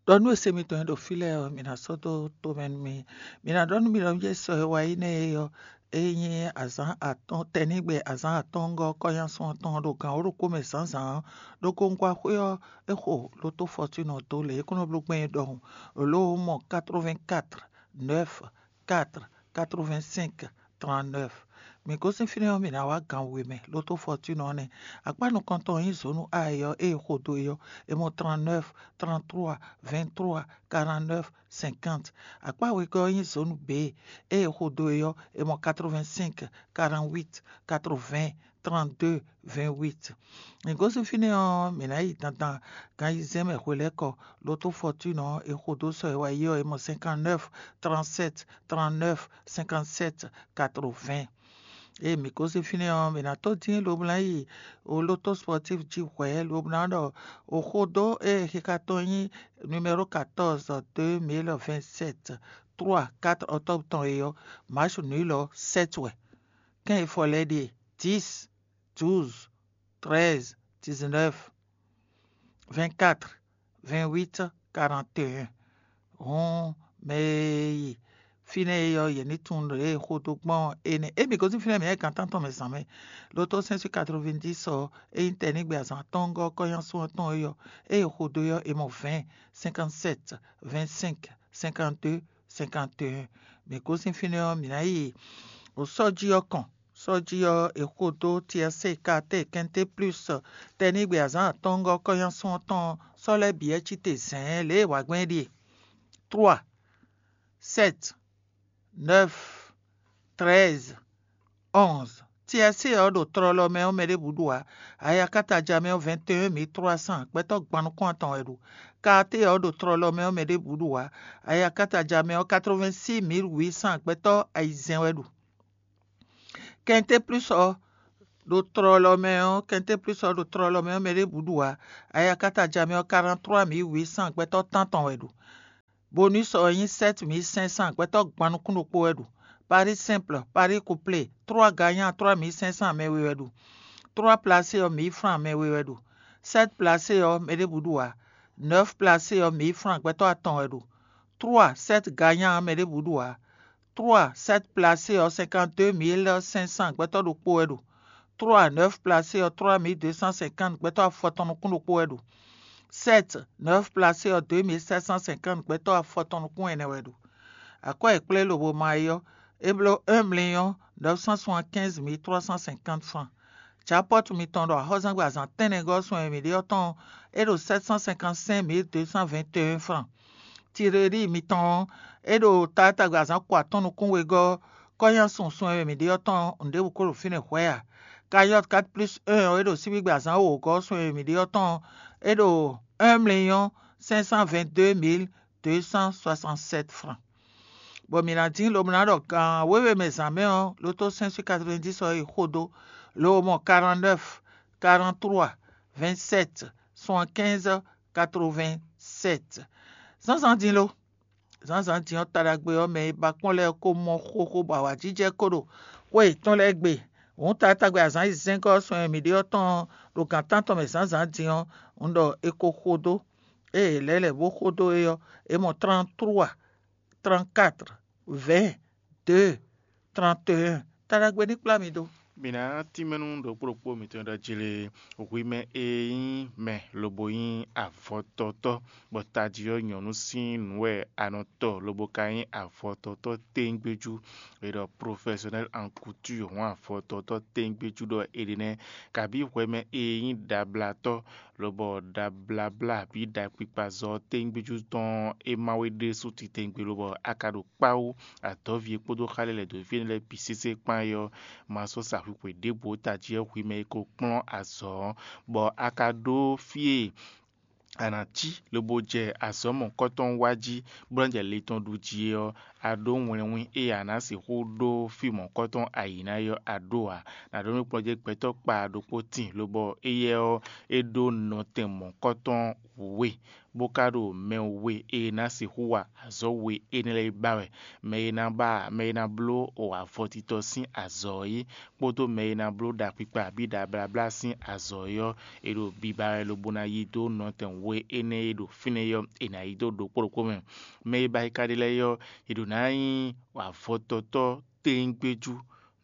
Ɖɔ nú e se mitɔn e ɖo fí lɛ́ɛ ɔ́, mi ná sɔ́ dó tomɛ nú mì. Mi ná ɖɔ nú mì ɖɔ mì jɛ sɔ e wá yi nɛ́ é ɔ́, é nyí azǎn atɔ́ɔ́n tɛnígbe azǎn atɔ́ɔ́ngɔ́ kɔ́nyásun ɔ́ tɔn ɖo gan wǒ ɖokpó mɛ zǎnzǎn ɔ́, ɖo Gongwaxwé ɔ́, é xo lotó Fɔtúnɔ dó lě é kó nɔ bló gbɛn é ɖɔhun. Lǒ mɔ quatre-vingt-quatre, neuf, quatre, quatre-vingt-cinq, trente-neuf. Mǐ gosín fínɛ́ ɔ́, mǐ ná wá gan we mɛ, lotó Fɔtúnɔ ɔ́ nɛ́. Akpá nukɔntɔn ɔ́ nyí zǒnu A e ɔ́, ée è xo dó é ɔ́, è mɔ trente-neuf, trente-trois, vingt-trois, quarante-neuf, cinquante. Akpá wegɔ́ ɔ́ nyí zǒnu B, ée è xo dó é ɔ́, è mɔ quatre-vingt-cinq, quarante-huit, quatre-vingts, trente-deux, vingt-huit. Mǐ gosín fínɛ́ ɔ́, mǐ ná yi dandan gan ayizɛ́n mɛ hwelɛ́kɔ, lotó Fɔtúnɔ ɔ́, è xo dó sɔ e wá yi ɔ́, è mɔ cinquante-neuf, trente-sept, trente-neuf, cinquante-sept, quatre-vingts. Ée mǐ gosín fínɛ́ ɔ́, mǐ ná tó dín lobo ná yi o lotó sportif jí hwɛ̌, lobo ná ɖɔ o xo dó ée xixa tɔn nyí numéro quatorze, deux mille vingt-sept, trois, quatre octobre tɔn é ɔ́, match nul ɔ́, sept wɛ. Kɛ́n e fɔ lɛ́ɛ ɖíe: dix, douze, treize, dix-neuf, vingt-quatre, vingt-huit, quarante et un. Hǔn mɛ e yi fínɛ́ é ɔ́, yě ní tunwun ɖě e xo dó gbɔn ɔ́ énɛ́. Emi gosín fínɛ́ mǐ wɛ gan tántɔn mɛ zǎn mɛ. Lotó cinq sur quatre-vingt-dix ɔ́, é nyí tɛnígbe azǎn atɔ́ɔ́ngɔ́ kɔ́nyásun ɔ́ tɔn é ɔ́, ée è xo dó é ɔ́, è mɔ vingt, cinquante-sept, vingt-cinq, cinquante-deux, cinquante et un. Mǐ gosín fínɛ́ ɔ́, mǐ ná yi o sɔ́ jí ɔ́ kɔn. Sɔ́ jí ɔ́, è xo dó Tiɛsée Kaatée Kɛnté Plús tɛnígbe azǎn atɔ́ɔ́ngɔ́ kɔ́nyásun ɔ́ tɔn sɔ́ lɛ́ɛ bǐ wɛ cí te zɛ̌ɛ́n lě e è wa gbɔn é ɖíe: trwa, sɛ́t, nɛ́f, trɛ́ɛz, ɔ́nz. Tiɛsée ɔ́ ɖo tlɔlɔ mɛ ɔ́, mɛ ɖěbǔ ɖu ǎ. Ayakata ja mɛ ɔ́, vɛ̌ɛn mǐ trwa sán gbɛtɔ́ gban nukún atɔn wɛ ɖu. Kaatée ɔ́ ɖo tlɔlɔ mɛ ɔ́, mɛ ɖěbǔ ɖu ǎ. Ayakata ja mɛ ɔ́, katrovɛ́nsí mǐl wǐ sán gbɛtɔ́ ayizɛ́n wɛ ɖu. Kɛntéplús ɔ́ ɖo tlɔlɔ mɛ ɔ́, Kɛntéplús ɔ́ ɖo tlɔlɔ mɛ ɔ́, mɛ ɖěbǔ ɖu ǎ. Ayakata ja mɛ ɔ́, karanttlwá mǐl wǐ sán gbɛtɔ́ tántɔn wɛ ɖu. Bonus ɔ́ nyí sɛ́t mǐl sɛ́n sán gbɛtɔ́ gban nukún ɖokpó wɛ ɖu. Paris simple, Paris couplé, trwa ganyá trwa mǐl sɛ́n sán mɛ we wɛ ɖu. Trwa plasé ɔ́, mǐl fran mɛ we wɛ ɖu. Sɛ́t plasé ɔ́, mɛ ɖěbǔ ɖu ǎ. Nɛ́f plasé ɔ́, mǐl fran gbɛtɔ́ atɔn wɛ ɖu. Trwa sɛ́t ganyá ɔ́, mɛ ɖěbǔ ɖu ǎ. Trwa sɛ́t plasé ɔ́, sɛnkanté mǐl sɛ́n sán gbɛtɔ́ ɖokpó wɛ ɖo. Trwa nɛ́f plasé ɔ́, trwa mǐl dé sán sɛnkánt gbɛtɔ́ afɔtɔn nukún ɖokpó wɛ ɖo. Sɛ́t nɛ́f plasé ɔ́, dé mǐl sɛ́t sán sɛnkánt gbɛtɔ́ afɔtɔn nukún ɛnɛ wɛ ɖo. Akwɛ́ e kplé lobo ma é ɔ́, é bló un mliyɔ́n nɛ́f sán sɔ́n kɛ́nz mǐl trwa sán sɛnkánt fran. Japɔ́tu mitɔn ɖo axɔ́zangbe azǎn tɛ́nnɛgɔ́ sun e mǐ ɖe ɔ́ tɔn ɔ́, é ɖo sɛ́t sán sɛnkánt sɛ́n mǐl dé sán vɛ̌ɛn fran. Tirelíi mitɔn ɔ́, é ɖo taatagbe azǎn ko atɔ́ɔ́n nukún wegɔ́ kɔ́nyásun sun e mǐ ɖe ɔ́ tɔn nǔɖěbǔ ko ɖo fínɛ́ hwɛ̌ ǎ. Kayɔ́t kat plus un ɔ́, é ɖo síbígbe azǎn wǒgɔ́ sun e mǐ ɖe ɔ́ tɔn, é ɖo un mliyɔ́n sɛ́n sán vɛ̌ɛn dé mǐl dé sán swasansɛ́t fran. Bɔ mǐ ná dín lobo ná ɖɔ gan wěwe mɛ zǎn mɛ ɔ́, lotó sɛ́n sín katrovɛ́ndín ɔ́ yi xo dó, lobo mɔ karannɛ́f, karanntrua, vɛ̌nsɛ́t, suankɛ́nz, katrovɛ́nsɛ́t. Zǎnzǎn din lo? Zǎnzǎn din ɔ́, ta ɖagbe ɔ́, mɛ e ba kpɔ́n lɛ́ɛ ko mɔ xóxó bɔ awǎjijɛ ko ɖo xwé yětɔn lɛ́ɛ gbe. Hǔn taatagbe azǎn yi zɛ́ngɔ́ ɔ́, sɔn e mǐ ɖe ɔ́ tɔn ɔ́, ɖo gǎn tántɔn mɛ zǎnzǎn din ɔ́, un ɖɔ è ko xo dó. Ée è lɛ̌ lɛ̌ bó xo dó é ɔ́, é mɔ trántrua, tránkat, vɛ̌ɛn, dě, tranteyɛ́n. Ta ɖagbe ní kplá mi dó. Mǐ ná tínmɛ nú ɖokpó ɖokpó mǐtɔn e ɖɔ jlé hwi mɛ e nyí mɛ lobo nyí avɔtɔtɔ́, bɔ tají ɔ́ nyɔ̌nu sín nǔ wɛ a nɔ tɔ lobo ka nyí avɔtɔtɔ́ téńgbéjú. È ɖɔ professionnel en couture hɔn avɔtɔtɔ́ téńgbéjú ɖɔ è ɖe nɛ́, kabí hwɛ mɛ e nyí ɖablatɔ́, lobɔ ɖabláblá abǐ ɖakpikpazɔ́ téńgbéjú tɔn é má wé ɖésú titewungbe lobɔ a ka ɖo kpáwú adɔ̌ví e kpódó xá lɛ́ɛ lɛ̌ dó fí énɛ́ lɛ́ɛ bǐ sésé kpán é ɔ́, ma sɔ́ sa hwixwe ɖěbǔ ó tají ɔ́ hwi mɛ e ko kplɔ́n azɔ̌ ɔ́, bɔ a ka ɖó fí e a nǎ cí lobo jɛ azɔ̌ mɔ̌kɔ́tɔn wa jí, bó ná jɛ le tɔn ɖu jí é ɔ́, a ɖó wlɛnwín e a nǎ sixú ɖó fí mɔ̌kɔ́tɔn ayǐ ná é ɔ́, a ɖó ǎ. Nǎ ɖɔ nú kplɔ́njɛ́gbɛ́tɔ́ kpa ɖokpó tíin, lobɔ éyɛ́ ɔ́, é ɖó nɔtɛn mɔ̌kɔ́tɔn we, bó ka ɖo mɛ we e ná sixú wa azɔ̌ we énɛ́ lɛ́ɛ yi ba wɛ. Mɛ e ná ba mɛ e ná bló avɔtitɔ sín azɔ̌ é, kpódó mɛ e ná bló ɖakpikpa abǐ ɖabláblá sín azɔ̌ é ɔ́, è ɖo biba wɛ lobo ná yí dó nɔtɛn we énɛ́ e ɖo fínɛ́ ɔ́, è nǎ yí dó ɖokpó ɖokpó mɛ. Mɛ e ba yi ka ɖe lɛ́ɛ ɔ́, è ɖǒ ná nyí avɔtɔtɔ́ téńgbéjú,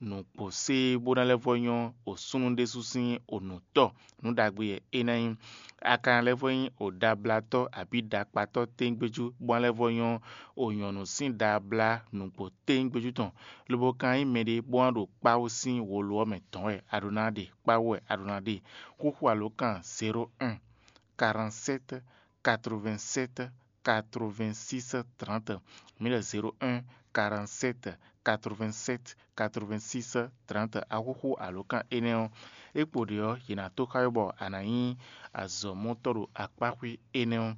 nǔkpo sé bó ná lɛ́ vɔ́ nyɔ́ osúnnu ɖésú sín onǔtɔ́. Nǔ ɖagbe wɛ é ná nyí. A ka ná lɛ́ vɔ́ nyí oɖablatɔ́ abǐ ɖakpatɔ́ téńgbéjú, bó ná lɛ́ vɔ́ nyɔ́ onyɔ̌nu sín ɖablá nǔgbó téńgbéjú tɔn, lobo ka nyí mɛɖé bó ná ɖo kpáwú sín wolo ɔ́ mɛ dɔ̌n wɛ a ɖó ná ɖe, kpáwú wɛ a ɖó ná ɖe. Xúxú alǒkan zéro un, quarante-sept, quatre-vingt-sept, quatre-vingt-six, trente. Mǐ ɖɔ zéro un, quarante-sept, quatre-vingt-sept, quatre-vingt-six, trente. Axúxú alǒkan énɛ́ ɔ́, é kpo ɖě ɔ́, yě ná tó xá we bɔ a nǎ nyí azɔ̌mɔtɔ́ ɖo akpáxwé énɛ́ ɔ́.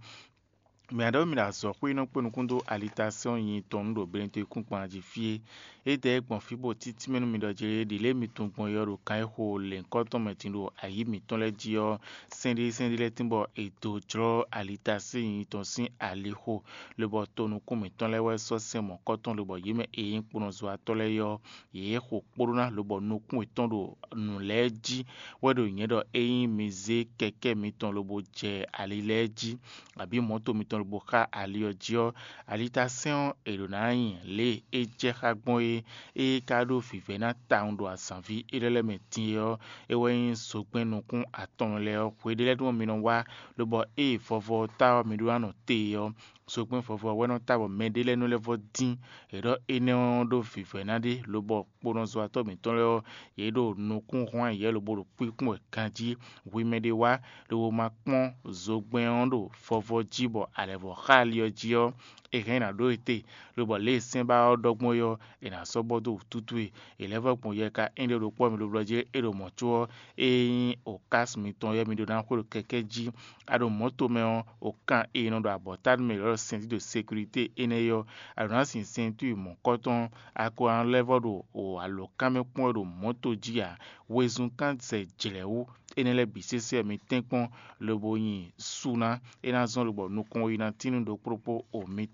Mǐ ná ɖɔ mǐ ɖo azɔ̌xwé nɔ kpé nukún dó alitasɛ́n nyinyi tɔn nú ɖo Benɛtɔ́ kúnkpan jí fí é. Édɛɛ gbɔn fí bó títí mɛ nú mi ɖɔ jlé ɖi lě mi tunwun gbɔn é ɔ́ ɖo kan e xo lěhunkɔtɔn mɛ din ɖo ayǐ mǐtɔn lɛ́ɛ jí ɔ́, sɛ́n ɖé sɛ́n ɖé lɛ́ɛ tín bɔ è dǒ jlɔ́ alitasɛ́n nyinyi tɔn sín alixo, lobɔ to nukún mǐtɔn lɛ́ɛ wɛ sɔ́ sɛn mɔ̌kɔtɔn, lobɔ yě mɛ e nyí kplɔ́nzɔ́watɔ́ lɛ́ɛ é ɔ́, yě xo kpóɖó ná, lobɔ nukún yětɔn ɖo nǔ lɛ́ɛ jí wɛ ɖo nyɛ̌ ɖɔ ényí mi zé kɛkɛ́ mitɔn lobo jɛ ali lɛ́ɛ jí, abǐ mɔ̌to mitɔn lobo xá ali ɔ́ jí ɔ́, alitasɛ́n ɔ́, è ɖǒ ná nyi lě e é jɛ xá gbɔn é. Ée é ka ɖó vǐvɛ́ná tawun ɖo azǎnví élɔ́ lɛ́ɛ mɛ din é ɔ́, é wɛ nyí zogbɛ́n nukún atɔn lɛ́ɛ ɔ́. Hweɖé lɛ́ɛ ɖɔmɔ mi nɔ wá, lobɔ ée vɔvɔ ɔ́ ta ɔ́, mi ɖó ná nɔ te é ɔ́, Zogbɛ́n vɔvɔ wɛ nɔ ta bɔ mɛɖé lɛ́ɛ nɔ lɛ́ vɔ dín. È ɖɔ énɛ́ ɔ́ ɖó vǐvɛ́ná ɖé, lobɔ kponɔzɔ́watɔ́ mǐtɔn lɛ́ɛ ɔ́, yě ɖo nukún hwán yɛ̌ lobo ɖo kpínkpɔ́n wɛ ganjí. Hwi mɛɖé wá, lobo ma kpɔ́n zogbɛ́n ɔ́ ɖo vɔvɔ jí bɔ alɛ̌vɔ́ xá ali ɔ́ jí ɔ́, è hɛn ná ɖó e te, lobɔ lě e sɛ́n ba ɔ́ ɖɔ gbɔn é ɔ́, è nǎ sɔ́ bɔ dó wǔtútú e. È lɛ́ vɔ́ gbɔn yɛ ka énɛ́ ɖokpó ɔ́ mi ɖo blɔ́ jí é ɖo mɔ̌ có ɔ́, ényí okási mitɔn ɔ́ mi ɖó ná xwé ɖo kɛkɛ́ jí. A ɖo mɔ̌ tomɛ ɔ́, okan e nɔ ɖo abɔ̌tanu mɛ lɔ̌ sɛntí ɖo sekirite énɛ́ é ɔ́, a ɖǒ ná sin sɛntúi mɔ̌kɔtɔn, a ko ná lɛ́ vɔ́ ɖo alǒkan mɛ kpɔ́n wɛ ɖo mɔ̌ to jí ǎ. Wezun kán zɛ jlɛ̌ wú, énɛ́ lɛ́ɛ bǐ sésé wɛ mi tɛ́nkpɔ́n, lobo nyi su ná; é ná zɔ́n lobɔ nukɔn e ná tín nú ɖokpó ɖokpó o mi